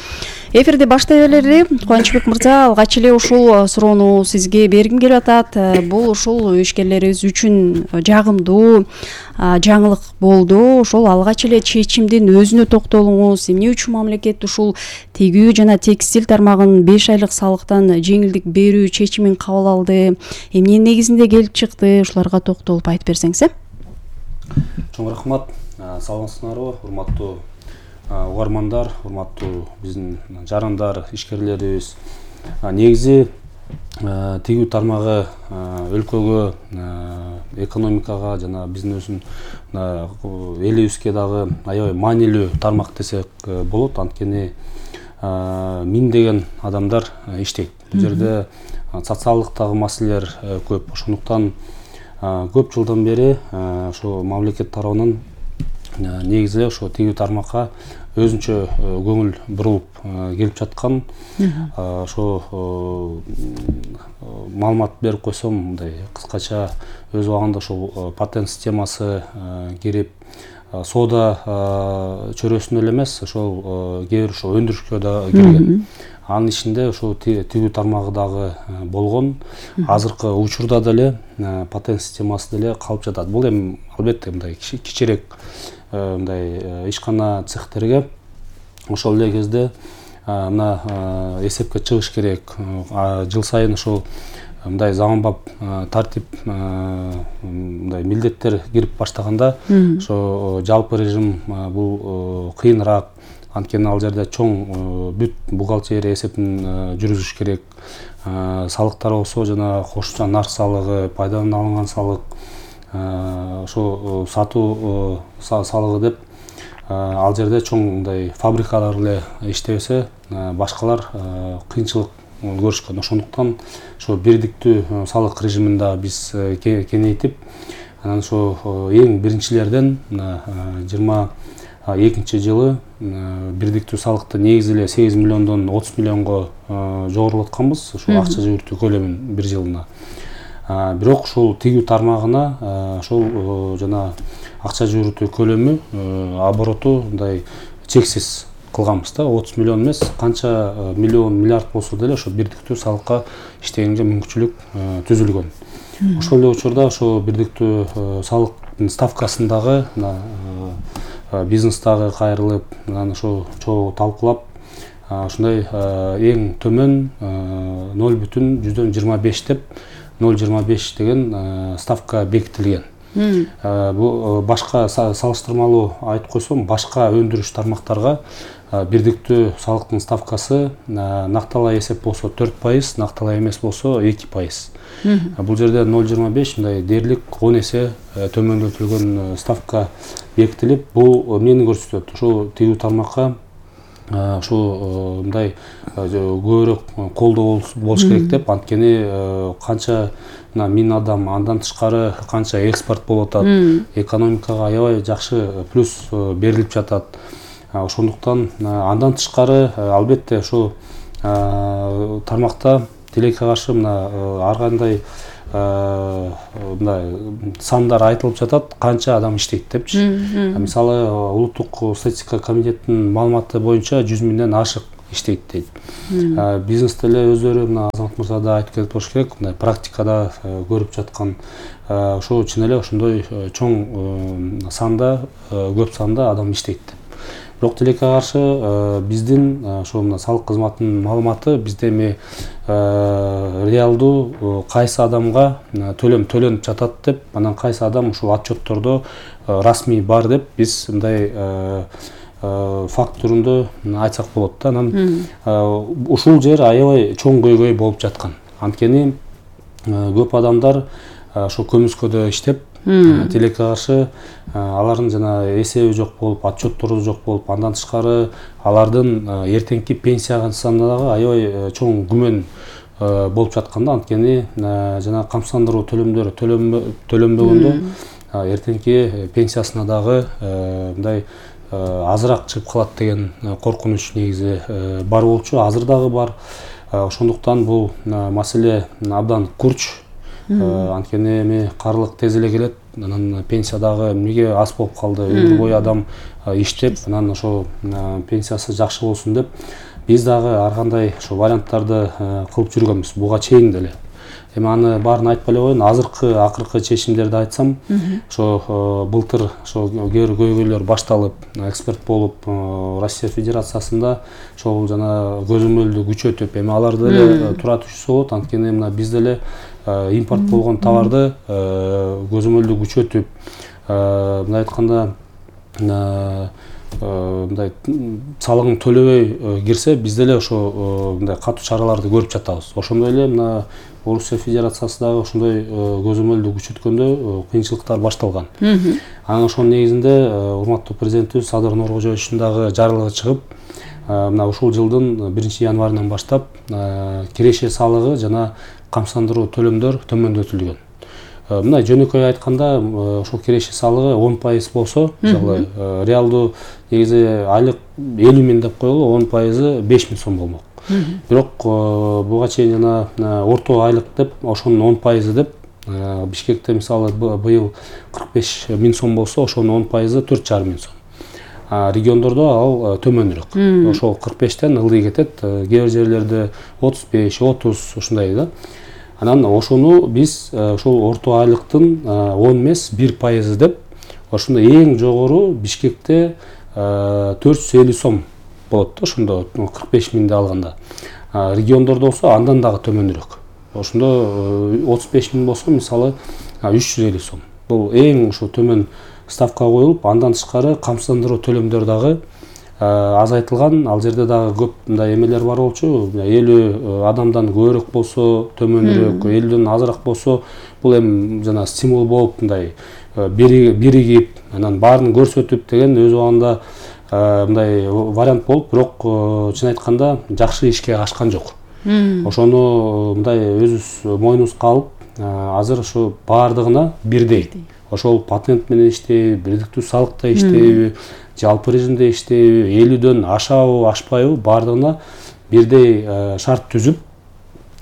Эфирди баштай эле Кубанычбек мырза, алгач эле ушул суроону сизге бергим келип атат. Бул ушул ишкерлерибиз үчүн жагымдуу жаңылык болду. Ошол алгач эле чечимдин өзүнө токтолуңуз. Эмне үчүн мамлекет ушул тегүү жана текстиль тармагын беш айлык салыктан жеңилдик берүү чечимин кабыл алды? Эмне негизинде келип чыкты? Ушуларга токтолуп айтып берсеңиз. Чоң рахмат. Саламатсыңарбы, урматтуу угармандар, урматтуу биздин жарандар, ишкерлерибиз. Негизи тегүү тармагы өлкөгө, экономикага жана бизнестин элибизге дагы аябай маанилүү тармак десек болот. Анткени миңдеген адамдар иштейт. Бул жерде социалдыктагы маселелер көп. Ошондуктан көп жылдан бери ошо мамлекет тарабынан негизи ошо тегүү тармакка өзүнчө көңүл бурулуп келип жаткан. Ошо маалымат берип койсом, мындай кыскача өз убагында ошо патент системасы кирип, соода чөйрөсүнө эле эмес, ошол кээ бир ошо өндүрүшкө да кирген. Анын ичинде ошо тегүү тармагы дагы болгон. Азыркы учурда деле патент системасы деле калып жатат. Бул эми албетте мындай кичирээк мындай ишкана цехтерге ошол эле кезде мына эсепке чыгыш керек. Жыл сайын ошол мындай заманбап тартип, мындай милдеттер кирип баштаганда ошо жалпы режим бул кыйыныраак. Анткени ал жерде чоң бүт бухгалтерия эсебин жүргүзүш керек. Салыктар болсо жана кошумча нарк салыгы, пайдадан алынган салык, ошо сатуу салыгы деп ал жерде чоң мындай фабрикалар эле иштебесе, башкалар кыйынчылык көрүшкөн. Ошондуктан ошо бирдиктүү салык режимин да биз кеңейтип, анан ошо эң биринчилерден жыйырма экинчи жылы бирдиктүү салыкты негизи эле сегиз миллиондон отуз миллионго жогорулатканбыз, ошо акча жүгүртүү көлөмүн бир жылына. Бирок ушул тегүү тармагына ошол жана акча жүгүртүү көлөмү, обороту мындай чексиз кылганбыз да. отуз миллион эмес, канча миллион, миллиард болсо деле ошо бирдиктүү салыкка иштегенге мүмкүнчүлүк түзүлгөн. Ошол эле учурда ошо бирдиктүү салыктын ставкасындагы бизнестагы кайрылып, анан ошо чогуу талкуулап, ушундай эң төмөн ноль бүтүн жүздөн жыйырма беш деп ноль жыйырма беш деген ставка бекитилген. Бул башка салыштырмалуу айтып койсом, башка өндүрүш тармактарга бирдиктүү салыктын ставкасы накталай эсеп болсо төрт пайыз, накталай эмес болсо эки пайыз. Бул жерде ноль жыйырма беш мындай дээрлик он эсе төмөндөтүлгөн ставка бекитилип, бул эмнени көрсөтөт? Ошо тигүү тармакка ушу мындай көбүрөөк колдоо болуш керек деп, анткени канча миң адам, андан тышкары канча экспорт болуп атат, экономикага аябай жакшы плюс берилип жатат. Ошондуктан андан тышкары албетте ошо тармакта тилекке каршы мына ар кандай мындай сандар айтылып жатат, канча адам иштейт депчи. Мисалы улуттук статистика комитетинин маалыматы боюнча жүз миңден ашык иштейт дейт. Бизнес деле өздөрү мына Азамат мырза да айтып кетип болуш керек, мындай практикада көрүп жаткан ошо чын эле ошондой чоң санда, көп санда адам иштейт деп. Бирок тилекке каршы биздин ошо мына салык кызматынын маалыматы бизде эми реалдуу кайсы адамга төлөм төлөнүп жатат деп, анан кайсы адам ушул отчеттордо расмий бар деп биз мындай факт түрүндө айтсак болот да. Анан ушул жер аябай чоң көйгөй болуп жаткан. Анткени көп адамдар ошо көмүскөдө иштеп, тилекке каршы алардын жана эсеби жок болуп, отчеттору жок болуп, андан тышкары алардын эртеңки пенсиясына дагы аябай чоң күмөн болуп жаткан да. Анткени жана камсыздандыруу төлөмдөрү төлөнбөгөндө эртеңки пенсиясына дагы мындай азыраак чыгып калат деген коркунуч негизи бар болчу, азыр дагы бар. Ошондуктан бул маселе абдан курч. Анткени эми карлык тез эле келет, анан пенсия дагы эмнеге аз болуп калды, өмүр бою адам иштеп, анан ошо пенсиясы жакшы болсун деп биз дагы ар кандай ошо варианттарды кылып жүргөнбүз буга чейин деле. Эми аны баарын айтпай эле коеюн, азыркы акыркы чечимдерди айтсам, ошо былтыр ошо кээ бир көйгөйлөр башталып, эксперт болуп, Россия Федерациясында ошол жана көзөмөлдү күчөтүп, эми алар деле тура түшсө болот, анткени мына биз деле импорт болгон товарды көзөмөлдү күчөтүп, мындай айтканда мындай салыгын төлөбөй кирсе, биз деле ошо мындай катуу чараларды көрүп жатабыз. Ошондой эле мына Орусия Федерациясы дагы ошондой көзөмөлдү күчөткөндө кыйынчылыктар башталган. Анан ошонун негизинде урматтуу президентибиз Садыр Нуркожоевичтин дагы жарлыгы чыгып, мына ушул жылдын биринчи январынан баштап киреше салыгы жана камсыздандыруу төлөмдөр төмөндөтүлгөн. Мына жөнөкөй айтканда, ошол киреше салыгы он пайыз болсо, мисалы реалдуу негизи айлык элүү миң деп коелу, он пайызы беш миң сом болмок. Бирок буга чейин жана орто айлык деп, ошонун он пайызы деп, Бишкекте мисалы быйыл кырк беш миң сом болсо, ошонун он пайызы төрт жарым миң сом. Региондордо ал төмөнүрөөк. Ошол кырк бештен ылдый кетет, кээ бир жерлерде отуз беш, отуз ушундай да. Анан ошону биз ошол орто айлыктын он эмес бир пайызы деп, ошондо эң жогору Бишкекте төрт жүз элүү сом болот да, ошондо кырк беш миңди алганда. Региондордо болсо андан дагы төмөнүрөөк. Ошондо отуз беш миң болсо, мисалы үч жүз элүү сом. Бул эң ошо төмөн ставка коюлуп, андан тышкары камсыздандыруу төлөмдөр дагы азайтылган. Ал жерде дагы көп мындай эмелер бар болчу. элүү адамдан көбүрөөк болсо төмөнүрөөк, элүүдөн азыраак болсо, бул эми жана стимул болуп мындай биригип, анан баарын көрсөтүп деген өз убагында мындай вариант болуп, бирок чын айтканда жакшы ишке ашкан жок. Ошону мындай өзүбүз мойнубузга алып, азыр ошо баардыгына бирдей. Ошол патент менен иштейби, бирдиктүү салыкта иштейби, жалпы режимде иштейби, элүүдөн ашабы, ашпайбы, баардыгына бирдей шарт түзүп,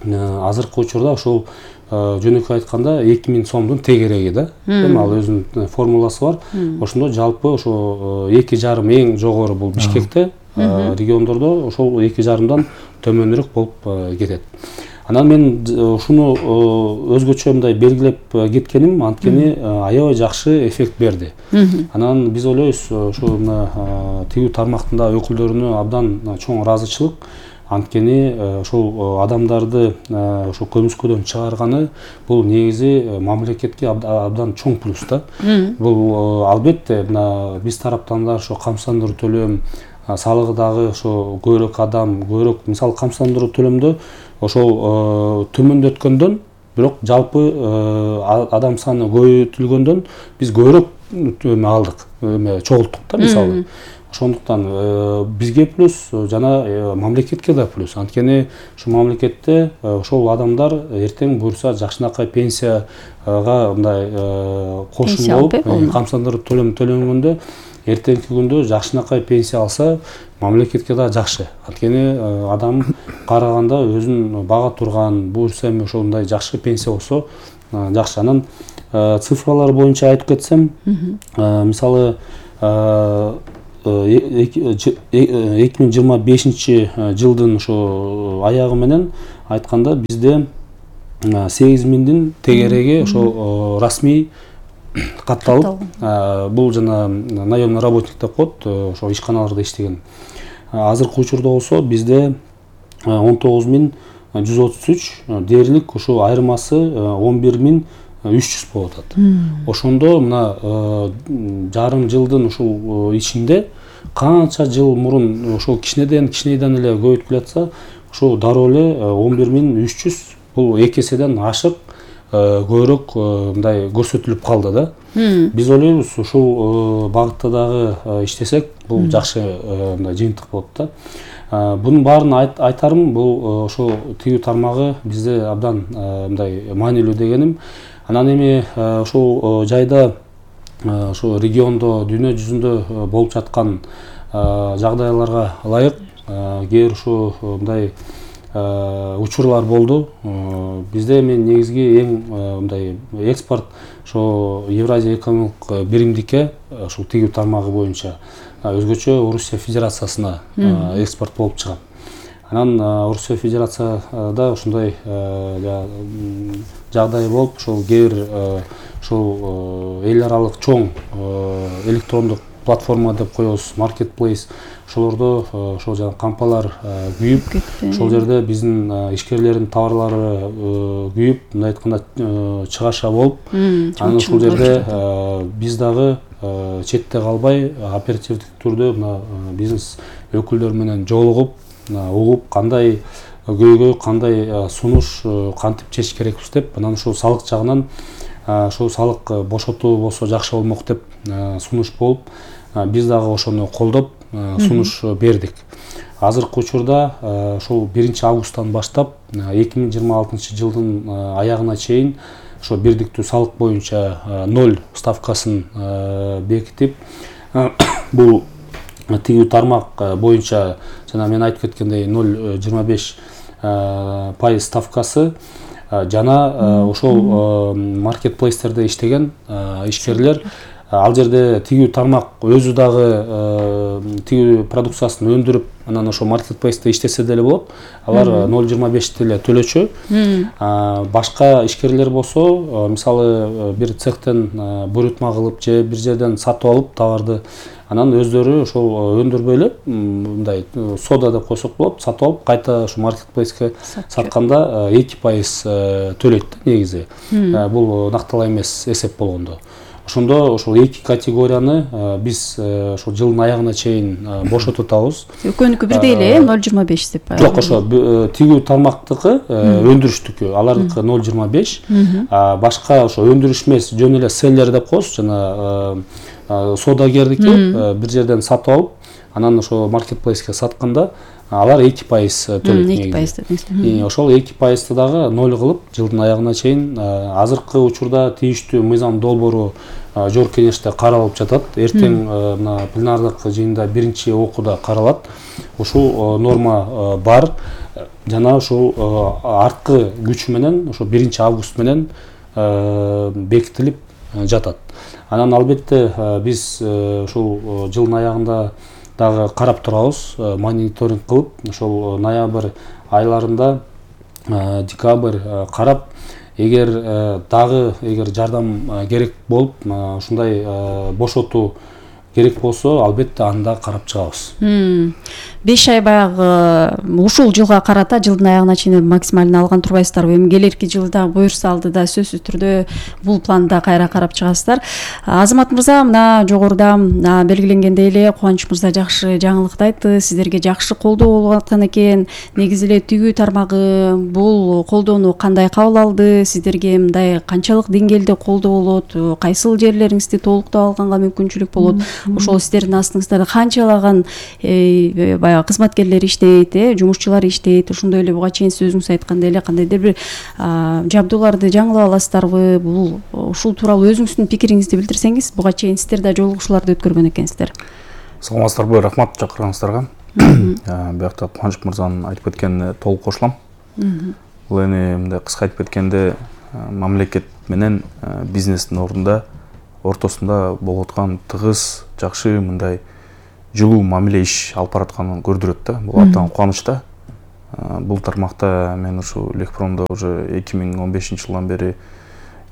азыркы учурда ошол жөнөкөй айтканда эки миң сомдун тегереги да. Эми ал өзүнүн формуласы бар. Ошондо жалпы ошо эки жарым эң жогору бул Бишкекте, региондордо ошол эки жарымдан төмөнүрөөк болуп кетет. Анан мен ушуну өзгөчө мындай белгилеп кеткеним, анткени аябай жакшы эффект берди. Анан биз ойлойбуз, ошо мына тигүү тармактын өкүлдөрүнө абдан чоң ыраазычылык. Анткени ошол адамдарды ошо көмүскөдөн чыгарганы бул негизи мамлекетке абдан чоң плюс да. Бул албетте мына биз тараптан да ошо камсыздандыруу төлөм, салыгы дагы ошо көбүрөөк адам, көбүрөөк мисалы камсыздандыруу төлөмдө ошол төмөндөткөндөн, бирок жалпы адам саны көбөйтүлгөндөн биз көбүрөөк эме алдык, эме чогулттук да мисалы. Ошондуктан бизге плюс жана мамлекетке да плюс. Анткени ушу мамлекетте ошол адамдар эртең буюрса жакшынакай пенсияга мындай кошун болуп, камсыздандыруу төлөм төлөнгөндө эртеңки күндө жакшынакай пенсия алса, мамлекетке да жакшы. Анткени адам караганда өзүн бага турган, буюрса эми ошондой жакшы пенсия болсо жакшы. Анан цифралар боюнча айтып кетсем, мисалы эки миң жыйырма бешинчи жылдын ошо аягы менен айтканда бизде сегиз миңдин тегереги ошо расмий катталып, бул жана наемный работник деп коет, ошо ишканаларда иштеген. Азыркы учурда болсо бизде он тогуз миң жүз отуз үч, дээрлик ошо айырмасы он бир миң үч жүз болуп атат. Ошондо мына жарым жылдын ушул ичинде канча жыл мурун ошол кичинеден кичинейден эле көбөйтүп жатса, ошол дароо эле он бир миң үч жүз бул эки эседен ашык көбүрөөк мындай көрсөтүлүп калды да. Биз ойлойбуз ушул багытта дагы иштесек, бул жакшы мындай жыйынтык болот да. Бунун баарын айтарым, бул ошол тигүү тармагы бизде абдан мындай маанилүү дегеним. Анан эми ошол жайда ошо региондо, дүйнө жүзүндө болуп жаткан жагдайларга ылайык кээ бир ушу мындай учурлар болду. Бизде эми негизги эң мындай экспорт ошо Евразия экономикалык биримдикке ушул тигүү тармагы боюнча өзгөчө Орусия Федерациясына экспорт болуп чыгат. Анан Орусия Федерацияда ушундай жагдай болуп, ошол кээ бир ошол эл аралык чоң электрондук платформа деп коебуз, marketplace, ошолордо ошол жана кампалар күйүп, ошол жерде биздин ишкерлердин товарлары күйүп, мындай айтканда чыгаша болуп, анан ошол жерде биз дагы четте калбай оперативдик түрдө мына бизнес өкүлдөр менен жолугуп, угуп, кандай көйгөй, кандай сунуш кантип чечиш керекпиз деп, анан ошол салык жагынан ошол салык бошотуу болсо жакшы болмок деп сунуш болуп, биз дагы ошону колдоп сунуш бердик. Азыркы учурда ошол биринчи августтан баштап эки миң жыйырма алтынчы жылдын аягына чейин ошо бирдиктүү салык боюнча ноль ставкасын бекитип, бул тигүү тармак боюнча жана мен айтып кеткендей ноль жыйырма беш пайыз ставкасы жана ошол маркетплейстерде иштеген ишкерлер, ал жерде тигүү тармак өзү дагы тигүү продукциясын өндүрүп, анан ошо маркетплейсте иштесе деле болот. Алар ноль жыйырма бешти эле төлөчү. Башка ишкерлер болсо, мисалы бир цехтен буйрутма кылып же бир жерден сатып алып товарды, анан өздөрү ошол өндүрбөй эле мындай сода деп койсок болот, сатып алып кайта ошо маркетплейске сатканда эки пайыз төлөйт негизи. Бул накталаа эмес эсеп болгондо. Ошондо ошол эки категорияны биз ошол жылдын аягына чейин бошотуп атабыз. Экөөнүкү бирдей эле ноль жыйырма беш деп. Жок, ошо тигүү тармактыкы өндүрүштүкү, алардыкы ноль жыйырма беш. Башка ошо өндүрүш эмес, жөн эле селлер деп коебуз, жана содагердики бир жерден сатып алып, анан ошо маркетплейске сатканда алар эки пайыз төлөйт негизи. Ошол эки пайызды дагы ноль кылып жылдын аягына чейин азыркы учурда тийиштүү мыйзам долбоору жогорку кеңеште каралып жатат. Эртең мына пленардык жыйында биринчи окууда каралат. Ушул норма бар жана ушул арткы күчү менен ошо биринчи август менен бекитилип жатат. Анан албетте биз ушул жылдын аягында дагы карап турабыз, мониторинг кылып, ошол ноябрь айларында, декабрь карап, эгер дагы эгер жардам керек болуп, ушундай бошотуу керек болсо албетте аны да карап чыгабыз. беш ай баягы ушул жылга карата жылдын аягына чейин максималын алган турбайсыздарбы? Эми келерки жылда буюрса алды да сөзсүз түрдө бул планды да кайра карап чыгасыздар. Азамат мырза, мына жогоруда белгиленгендей эле Кубаныч мырза жакшы жаңылыкты айтты. Сиздерге жакшы колдоо болуп аткан экен. Негизи эле тигүү тармагы бул колдоону кандай кабыл алды? Сиздерге мындай канчалык деңгээлде колдоо болот? Кайсыл жерлериңизди толуктап алганга мүмкүнчүлүк болот? Ошол сиздердин астыңызда канчалаган баягы кызматкерлер иштейт, жумушчулар иштейт? Ошондой эле буга чейин сөзүңүз айткандай эле кандайдыр бир жабдууларды жаңылап аласыздарбы? Бул ушул тууралуу өзүңүздүн пикириңизди билдирсеңиз, буга чейин сиздер да жолугушууларды өткөргөн экенсиздер. Саламатсыздарбы, рахмат чакырганыңыздарга. Биякта Кубаныч мырзанын айтып кеткенине толук кошулам. Бул эми мындай кыска айтып кеткенде мамлекет менен бизнестин ордунда ортосунда болуп аткан тыгыз, жакшы мындай жылуу мамиле иш алып баратканын көрдүрөт да. Бул абдан кубанычта. Бул тармакта мен ушу Лекпромдо уже эки миң он бешинчи жылдан бери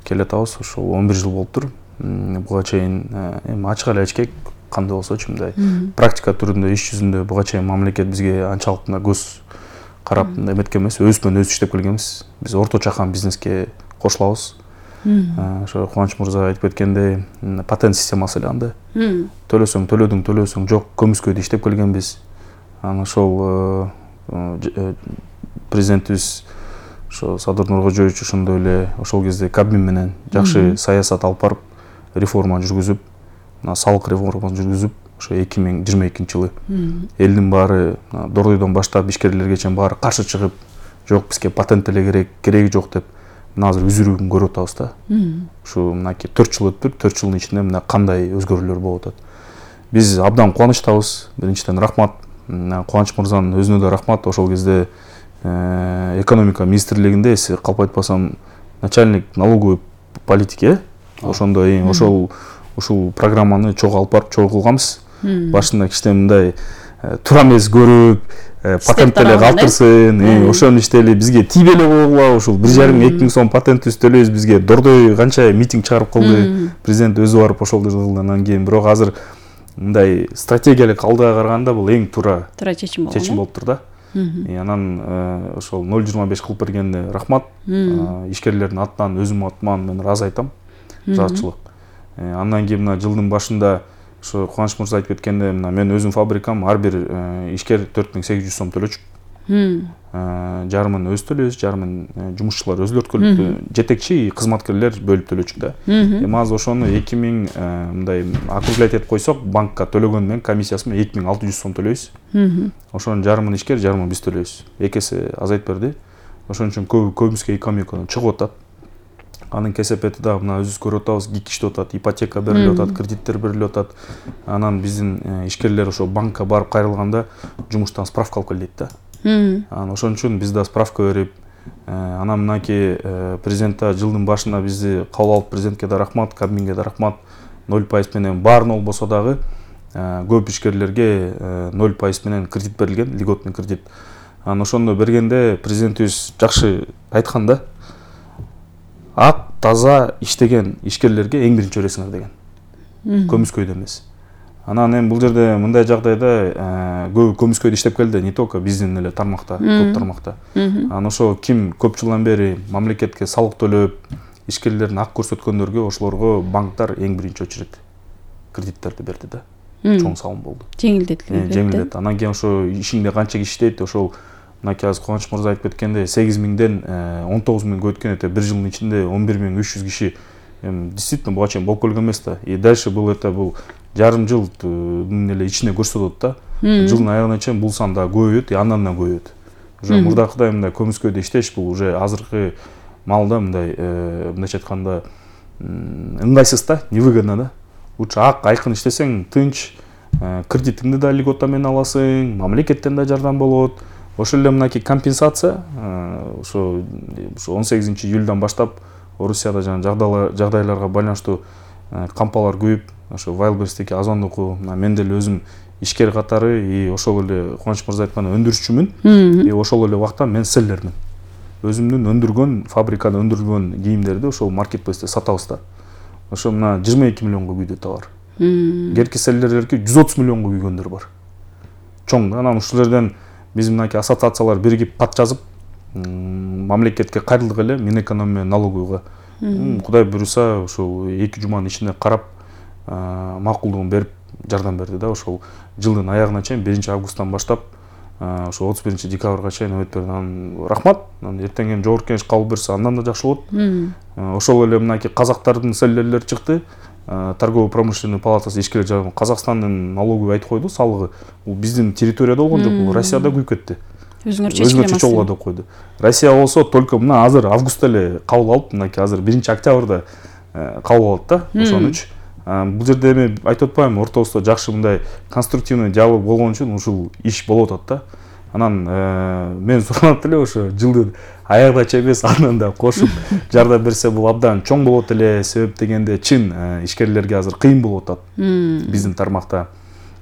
келатабыз. Ошо он бир жыл болуптур. Буга чейин эми ачык эле айтышкек, кандай болсочу мындай практика түрүндө, иш жүзүндө буга чейин мамлекет бизге анчалык мындай көз карап эметкен эмес, өзүбүз менен өзүбүз иштеп келгенбиз. Биз орто чакан бизнеске кошулабыз. Ошо Кубаныч мырза айтып кеткендей, патент системасы эле анда. Төлөсөң, төлөдүң, төлөсөң жок, көмүскөдө иштеп келгенбиз. Анан ошол президентибиз ошо Садыр Нуркожоевич ошондой эле ошол кезде Кабмин менен жакшы саясат алып барып, реформа жүргүзүп, салык реформасын жүргүзүп, ошо эки миң жыйырма экинчи жылы элдин баары Дордойдон баштап ишкерлерге чейин баары каршы чыгып, жок бизге патент эле керек, кереги жок деп мына азыр үзүрүүгүн көрүп атабыз да. Ушу мынакей төрт жыл өттүр, төрт жылдын ичинде мына кандай өзгөрүүлөр болуп атат. Биз абдан кубанычтабыз. Биринчиден рахмат. Кубаныч мырзанын өзүнө да рахмат. Ошол кезде экономика министрлигинде, эси калп айтпасам, начальник налоговой политики, ошондо ошол ушул программаны чогуу алып барып чогуу кылганбыз. Башында кичине мындай туура эмес көрүп, патент эле калтырсын, ошону иштели, бизге тийбей эле койгула, ушул бир жарым эки миң сом патентибиз төлөйбүз, бизге Дордой канча митинг чыгарып кылды, президент өзү барып ошол жерде кылды. Анан кийин бирок азыр мындай стратегиялык алдыга караганда бул эң туура чечим болуптур да. Анан ошол ноль жыйырма беш кылып бергенине рахмат. Ишкерлердин атынан, өзүмдүн атыман мен ыраазы айтам. Ыраазычылык. Андан кийин мына жылдын башында ошо Кубаныч мырза айтып кеткенде, мына мен өзүм фабрикам ар бир ишкер төрт миң сегиз жүз сом төлөчү. Жарымын өзү төлөйбүз, жарымын жумушчулар өзүлөрү төлөйт. Жетекчи кызматкерлер бөлүп төлөчү да. Эми азыр ошону эки миң мындай округлять этип койсок, банкка төлөгөн менен комиссиясы менен эки миң алты жүз сом төлөйбүз. Ошонун жарымын ишкер, жарымын биз төлөйбүз. Эки эсе азайып берди. Ошон үчүн көбүбүзгө экономикадан чыгып атат. Анын кесепети да мына өзүбүз көрүп атабыз, гик иштеп атат, ипотека берилип атат, кредиттер берилип атат. Анан биздин ишкерлер ошо банкка барып кайрылганда жумуштан справка алып кел дейт да. Анан ошон үчүн биз да справка берип, анан мынакей президентте жылдын башында бизди кабыл алып, президентке да рахмат, Кабминге да рахмат. ноль пайыз менен баарын болбосо дагы көп ишкерлерге ноль пайыз менен кредит берилген, льготный кредит. Анан ошондо бергенде президентибиз жакшы айткан да. Ак, таза иштеген ишкерлерге эң биринчи бересиңер деген. Көмүскөйдө эмес. Анан эми бул жерде мындай жагдайда көп көмүскөйдө иштеп келди, не только биздин эле тармакта, көп тармакта. Анан ошо ким көп жылдан бери мамлекетке салык төлөп, ишкерлерин ак көрсөткөндөргө, ошолорго банктар эң биринчи очередь кредиттерди берди да. Чоң салым болду. Жеңилдетилди. Жеңилдет. Анан кийин ошо ишиңде канча киши иштейт, ошол мынакей азыр Кубаныч мырза айтып кеткенде сегиз миңден он тогуз миңге өткөн эте бир жылдын ичинде он бир миң үч жүз киши эми действительно буга чейин болуп келген эмес да. И дальше бул это бул жарым жылдын эле ичинде көрсөтөт да. Жылдын аягына чейин бул сан да көбөйөт, и андан да көбөйөт. Уже мурдакыдай мындай көмүскөдө иштеш бул уже азыркы маалда мындай мындайча айтканда ыңгайсыз да, невыгодно да. Лучше ак айкын иштесең тынч, кредитиңди да льгота менен аласың, мамлекеттен да жардам болот. Ошол эле мынакей компенсация ошо он сегизинчи июльдан баштап Орусияда жана жагдайларга байланыштуу кампалар көбөйүп, ошо Wildberries'теги Озондуку мен деле өзүм ишкер катары, и ошол эле Кубаныч мырза айткан өндүрүшчүмүн, и ошол эле убакта мен селлермин. Өзүмдүн өндүргөн, фабрикада өндүрүлгөн кийимдерди ошол маркетплейсте сатабыз да. Ошо мына жыйырма эки миллионго күйдү товар. Керки селлерлерге жүз отуз миллионго күйгөндөр бар. Чоң. Анан ушул жерден биз мынакей ассоциациялар биригип кат жазып, мамлекетке кайрылдык эле Минэкономия налоговыйга. Кудай буюрса, ошол эки жуманын ичинде карап, макулдугун берип жардам берди да. Ошол жылдын аягына чейин биринчи августтан баштап ошо отуз биринчи декабрга чейин өтүп берди. Анан рахмат. Анан эртең эми жогорку кеңеш кабыл берсе андан да жакшы болот. Ошол эле мынакей казактардын селлерлери чыкты. Торгово-промышленный палатасы ишкерлер жагынан Казакстандын налоговый айтып койду, салыгы. Бул биздин территорияда болгон жок, бул Россияда күйүп кетти. Өзгөчө чогуу деп койду. Россия болсо только мына азыр августта эле кабыл алып, мынакей азыр биринчи октябрда кабыл алат да. Ошон үчүн бул жерде эми айтып атпаймынбы, ортобузда жакшы мындай конструктивный диалог болгон үчүн ушул иш болуп атат да. Анан мен суранат эле ошо жылдын аягына чейин эмес, андан да кошуп жардам берсе бул абдан чоң болот эле. Себеп дегенде чын ишкерлерге азыр кыйын болуп атат биздин тармакта.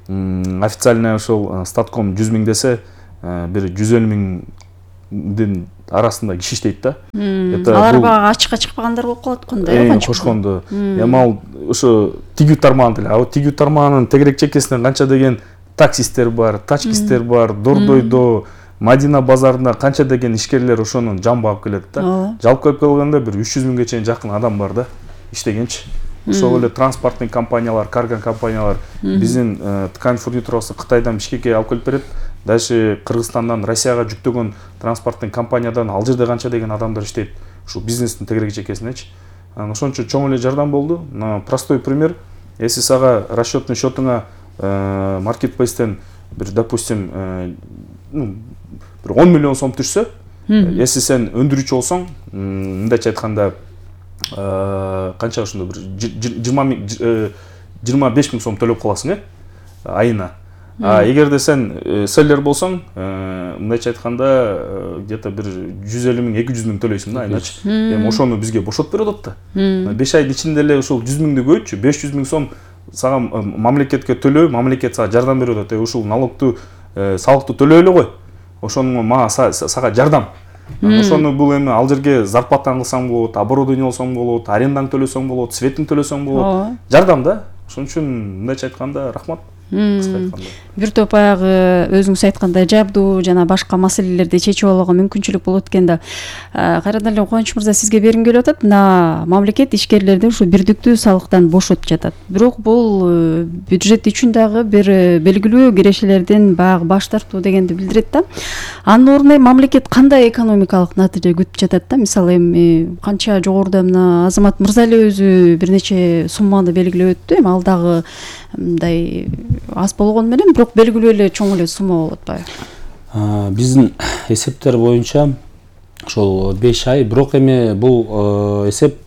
Официально ошол статком жүз миң десе, бир жүз элүү миңдин арасында киши иштейт да. Алар бага ачыкка чыкпагандар болуп калат кандай канча кошкондо. Эми ал ошо тигүү тармагын деле, а тигүү тармагынын тегерек чекесинен канча деген таксисттер бар, тачкисттер бар, Дордойдо, Мадина базарында канча деген ишкерлер ошонун жамбы алып келет да. Жалпы келип калганда бир үч жүз миңге чейин жакын адам бар да, иштегенчи. Ошол эле транспорттун компаниялар, карго компаниялар биздин ткань фурнитурасы Кытайдан Бишкекке алып келип берет. Даже Кыргызстандан Россияга жүктөгөн транспорттун компаниядан ал жерде канча деген адамдар иштейт. Ушул бизнестин тегерек чекесинечи. Ошончо чоң эле жардам болду. Простой пример. Если сага расчетный счетуңа маркетплейстен бир, допустим, ну, бир он миллион сом түшсө, если сен өндүрүүчү болсоң, мындайча айтканда, канча ошондо бир жыйырма беш миң сом төлөп каласың, э, айына. А эгерде сен селлер болсоң, мындайча айтканда, где-то бир жүз элүү миң, эки жүз миң төлөйсүң да айначы. Эми ошону бизге бошотуп берип атат да. беш айдын ичинде эле ошол жүз миңди көйчү, беш жүз миң сом сага мамлекетке төлөө, мамлекет сага жардам берип атат. Ушул налогту, салыкты төлөй эле кой. Ошону мага сага жардам. Ошону бул эми ал жерге зарплатаң кылсаң болот, оборудование болсоң болот, арендаң төлөсөң болот, светин төлөсөң болот. Жардам да. Ошон үчүн мындайча айтканда рахмат. Бир топ баягы өзүңүз айткандай жабдуу жана башка маселелерди чечип алууга мүмкүнчүлүк болот экен да. Кайрадан эле Кубаныч мырза, сизге бергим келип атат. Мына мамлекет ишкерлерди ушу бирдиктүү салыктан бошотуп жатат. Бирок бул бюджет үчүн дагы бир белгилүү кирешелерден баягы баш тартуу дегенди билдирет да. Анын ордуна мамлекет кандай экономикалык натыйжа күтүп жатат да? Мисалы эми канча жогоруда мына Азамат мырза эле өзү бир нече сумманы белгилеп өттү. Эми ал дагы мындай аз болгону менен, бирок белгилүү эле чоң эле сумма болуп атпайбы? Биздин эсептер боюнча ошол беш ай, бирок эми бул эсеп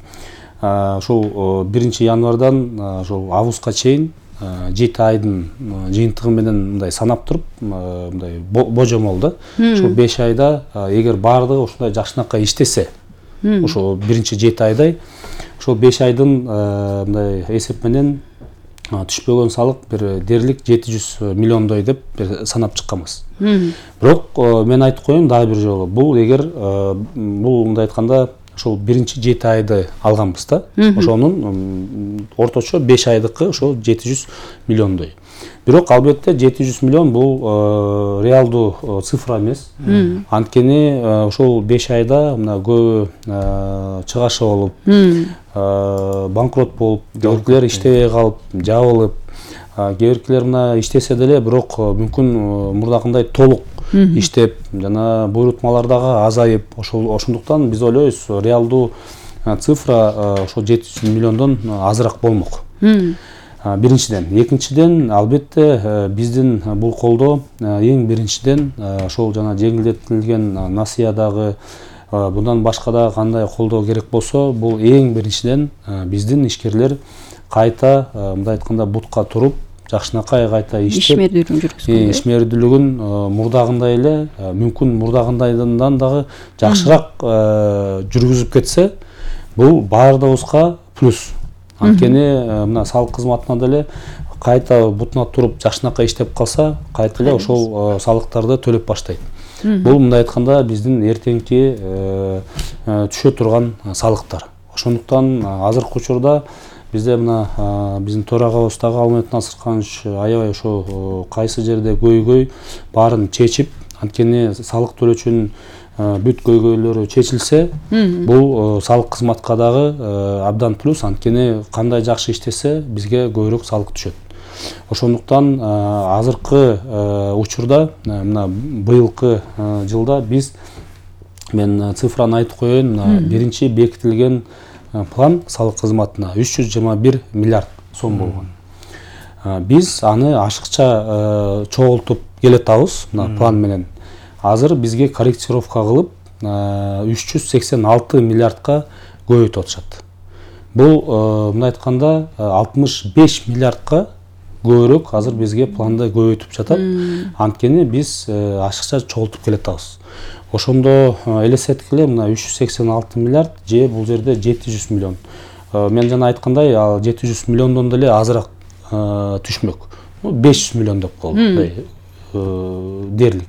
ошол биринчи январдан ошол августка чейин жети айдын жыйынтыгы менен мындай санап туруп, мындай божомол да. Ошол беш айда эгер баардыгы ушундай жакшынакай иштесе, ошол биринчи жети айдай, ошол беш айдын мындай эсеп менен түшпөгөн салык бир дээрлик жети жүз миллиондой деп санап чыкканбыз. Бирок мен айтып коеюн дагы бир жолу, бул эгер бул мындай айтканда ошол биринчи жети айды алганбыз да. Ошонун орточо беш айдыкы ошол жети жүз миллиондой. Бирок албетте жети жүз миллион бул реалдуу цифра эмес. Анткени ошол беш айда мына көбү чыгашы болуп, банкрот болуп, кээбиркилер иштебей калып, жабылып, кээбиркилер мына иштесе деле бирок мүмкүн мурдакындай толук иштеп, жана буйрутмалар дагы азайып, ошол ошондуктан биз ойлойбуз реалдуу цифра ошол жети жүз миллиондон азыраак болмок. Биринчиден, экинчиден албетте биздин бул колдоо эң биринчиден ошол жана жеңилдетилген насыядагы, bundan башка да кандай колдоо керек болсо, бул эң биринчиден биздин ишкерлер кайта мындай айтканда бутка туруп, жакшынакай кайта иштеп, ишмердүүлүгүн жүргүзгөн. Ишмердүүлүгүн мурдагындай эле, мүмкүн мурдагындайдан дагы жакшыраак жүргүзүп кетсе, бул баардыгыбызга плюс. Анткени мына салык кызматына деле кайта бутуна туруп жакшынакай иштеп калса, кайта эле ошол салыктарды төлөп баштайт. Бул мындай айтканда биздин эртеңки түшө турган салыктар. Ошондуктан азыркы учурда бизде мына биздин төрагабыз дагы Алмет Насырканович аябай ошо кайсы жерде көйгөй баарын чечип, анткени салык төлөөчүнүн бүт көйгөйлөрү чечилсе, бул салык кызматка дагы абдан плюс, анткени кандай жакшы иштесе бизге көбүрөөк салык түшөт. Ошондуктан азыркы учурда мына быйылкы жылда биз, мен цифраны айтып коеюн, биринчи бекитилген план салык кызматына үч жүз жыйырма бир миллиард сом болгон. Биз аны ашыкча чогултуп келатабыз мына план менен. Азыр бизге корректировка кылып үч жүз сексен алты миллиардка көбөйтүп атышат. Бул мындай айтканда алтымыш беш миллиардка көбүрөөк азыр бизге планды көбөйтүп жатат. Анткени биз ашыкча чогултуп келатабыз. Ошондо элестеткиле мына үч жүз сексен алты миллиард же бул жерде жети жүз миллион. Мен жана айткандай, ал жети жүз миллиондон деле азыраак түшмөк. беш жүз миллион деп коелу. Дерлик.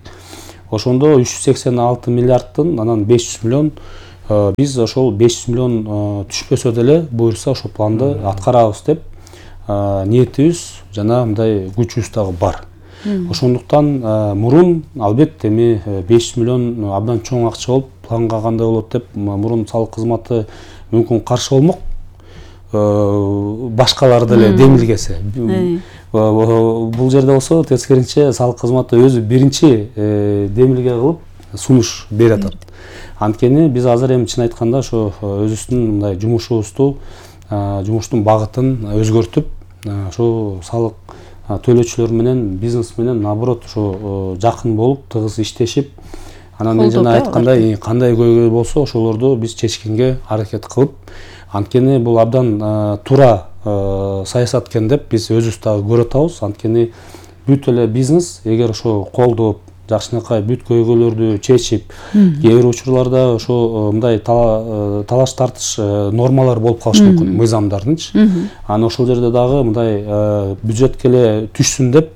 Ошондо үч жүз сексен алты миллиардтын анан беш жүз миллион, биз ошол беш жүз миллион түшпөсө деле буюрса ошол планды аткарабыз деп ниетибиз жана мындай күчүбүз дагы бар. Ошондуктан мурун албетте эми беш жүз миллион абдан чоң акча болуп, планга кандай болот деп мурун салык кызматы мүмкүн каршы болмок. Башкалар деле демилгесе. Бул жерде болсо тескерисинче салык кызматы өзү биринчи демилге кылып сунуш берип атат. Анткени биз азыр эми чын айтканда ошо өзүбүздүн мындай жумушубузду, жумуштун багытын өзгөртүп, ошо салык төлөөчүлөр менен, бизнес менен наоборот ошо жакын болуп, тыгыз иштешип, анан мен жана айткандай кандай көйгөй болсо ошолорду биз чечкенге аракет кылып, анткени бул абдан туура саясат экен деп биз өзүбүз дагы көрүп атабыз. Анткени бүт эле бизнес эгер ошо колдоп, жакшынакай бүт көйгөйлөрдү чечип, кээ бир учурларда ошо мындай талаш тартыш нормалар болуп калышы мүмкүн, мыйзамдардынчы. Анан ошол жерде дагы мындай бюджетке эле түшсүн деп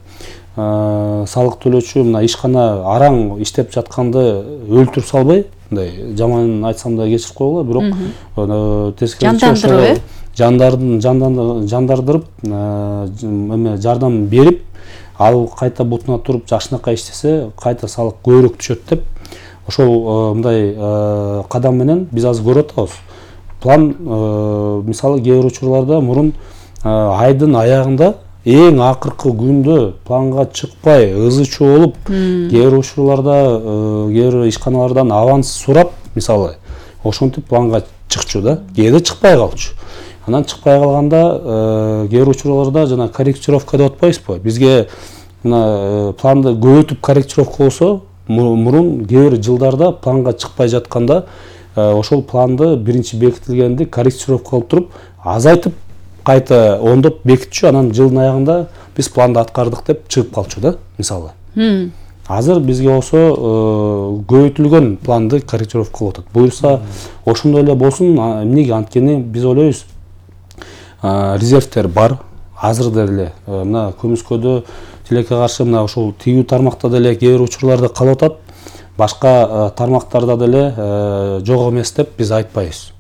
салык төлөөчү мына ишкана араң иштеп жатканды өлтүрүп салбай, мындай жаман айтсам да кечирип койгула, бирок тескерисинче жандардын жандардырып, эме жардам берип, ал кайта бутуна туруп жакшынакай иштесе, кайта салык көбүрөөк түшөт деп, ошол мындай кадам менен биз азыр көрүп атабыз. План мисалы кээ бир учурларда мурун айдын аягында эң акыркы күндө планга чыкпай, ызы чуу болуп, кээ бир учурларда кээ бир ишканалардан аванс сурап, мисалы, ошентип планга чыкчу да, кээде чыкпай калчу. Анан чыкпай калганда кээ бир учурларда жана корректировка деп атпайбызбы? Бизге мына планды көбөйтүп корректировка болсо, мурун кээ бир жылдарда планга чыкпай жатканда ошол планды биринчи бекитилгенди корректировка кылып туруп, азайтып кайта ондоп бекитчү, анан жылдын аягында биз планды аткардык деп чыгып калчу да, мисалы. Азыр бизге болсо көбөйтүлгөн планды корректировка кылып атат. Буюрса ошондой эле болсун, эмнеге? Анткени биз ойлойбуз, резервтер бар, азыр деле мына көмүскөдө тилекке каршы мына ошол тигүү тармакта деле кээ бир учурларда калып атат, башка тармактарда деле жок эмес деп биз айтпайбыз.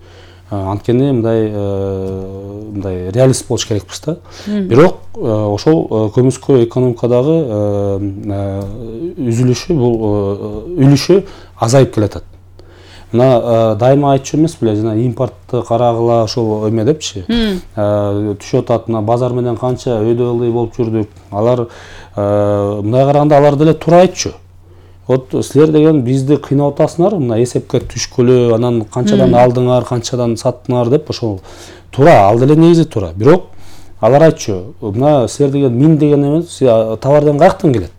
Анткени мындай мындай реалист болуш керекпиз да. Бирок ошол көмүскө экономикадагы үзүлүшү, бул үлүшү азайып келатат. Мына дайыма айтчу эмес беле, жана импортты карагыла ошол эме депчи. Түшүп атат, мына базар менен канча өйдө ылдый болуп жүрдүк. Алар мындай караганда алар деле туура айтчу. Вот силер деген бизди кыйнап атасыңар, мына эсепке түшкүлө, анан канчадан алдыңар, канчадан саттыңар деп, ошол туура, ал деле негизи туура. Бирок алар айтчу, мына силер деген мин деген эмес, товардан каяктан келет?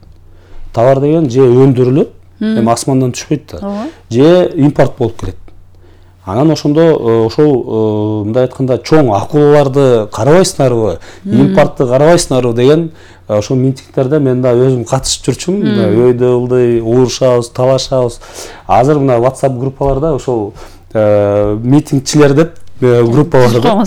Товар деген же өндүрүлөт, эми асмандан түшпөйт да, же импорт болуп келет. Анан ошондо ошол мындай айтканда чоң акулаларды карабайсыңарбы, импортты карабайсыңарбы деген ошол митингдерде мен да өзүм катышып жүрчүмүн. Өйдө ылдый уурушабыз, талашабыз. Азыр мына WhatsApp группаларда ошол митингчилер деп группалар бар.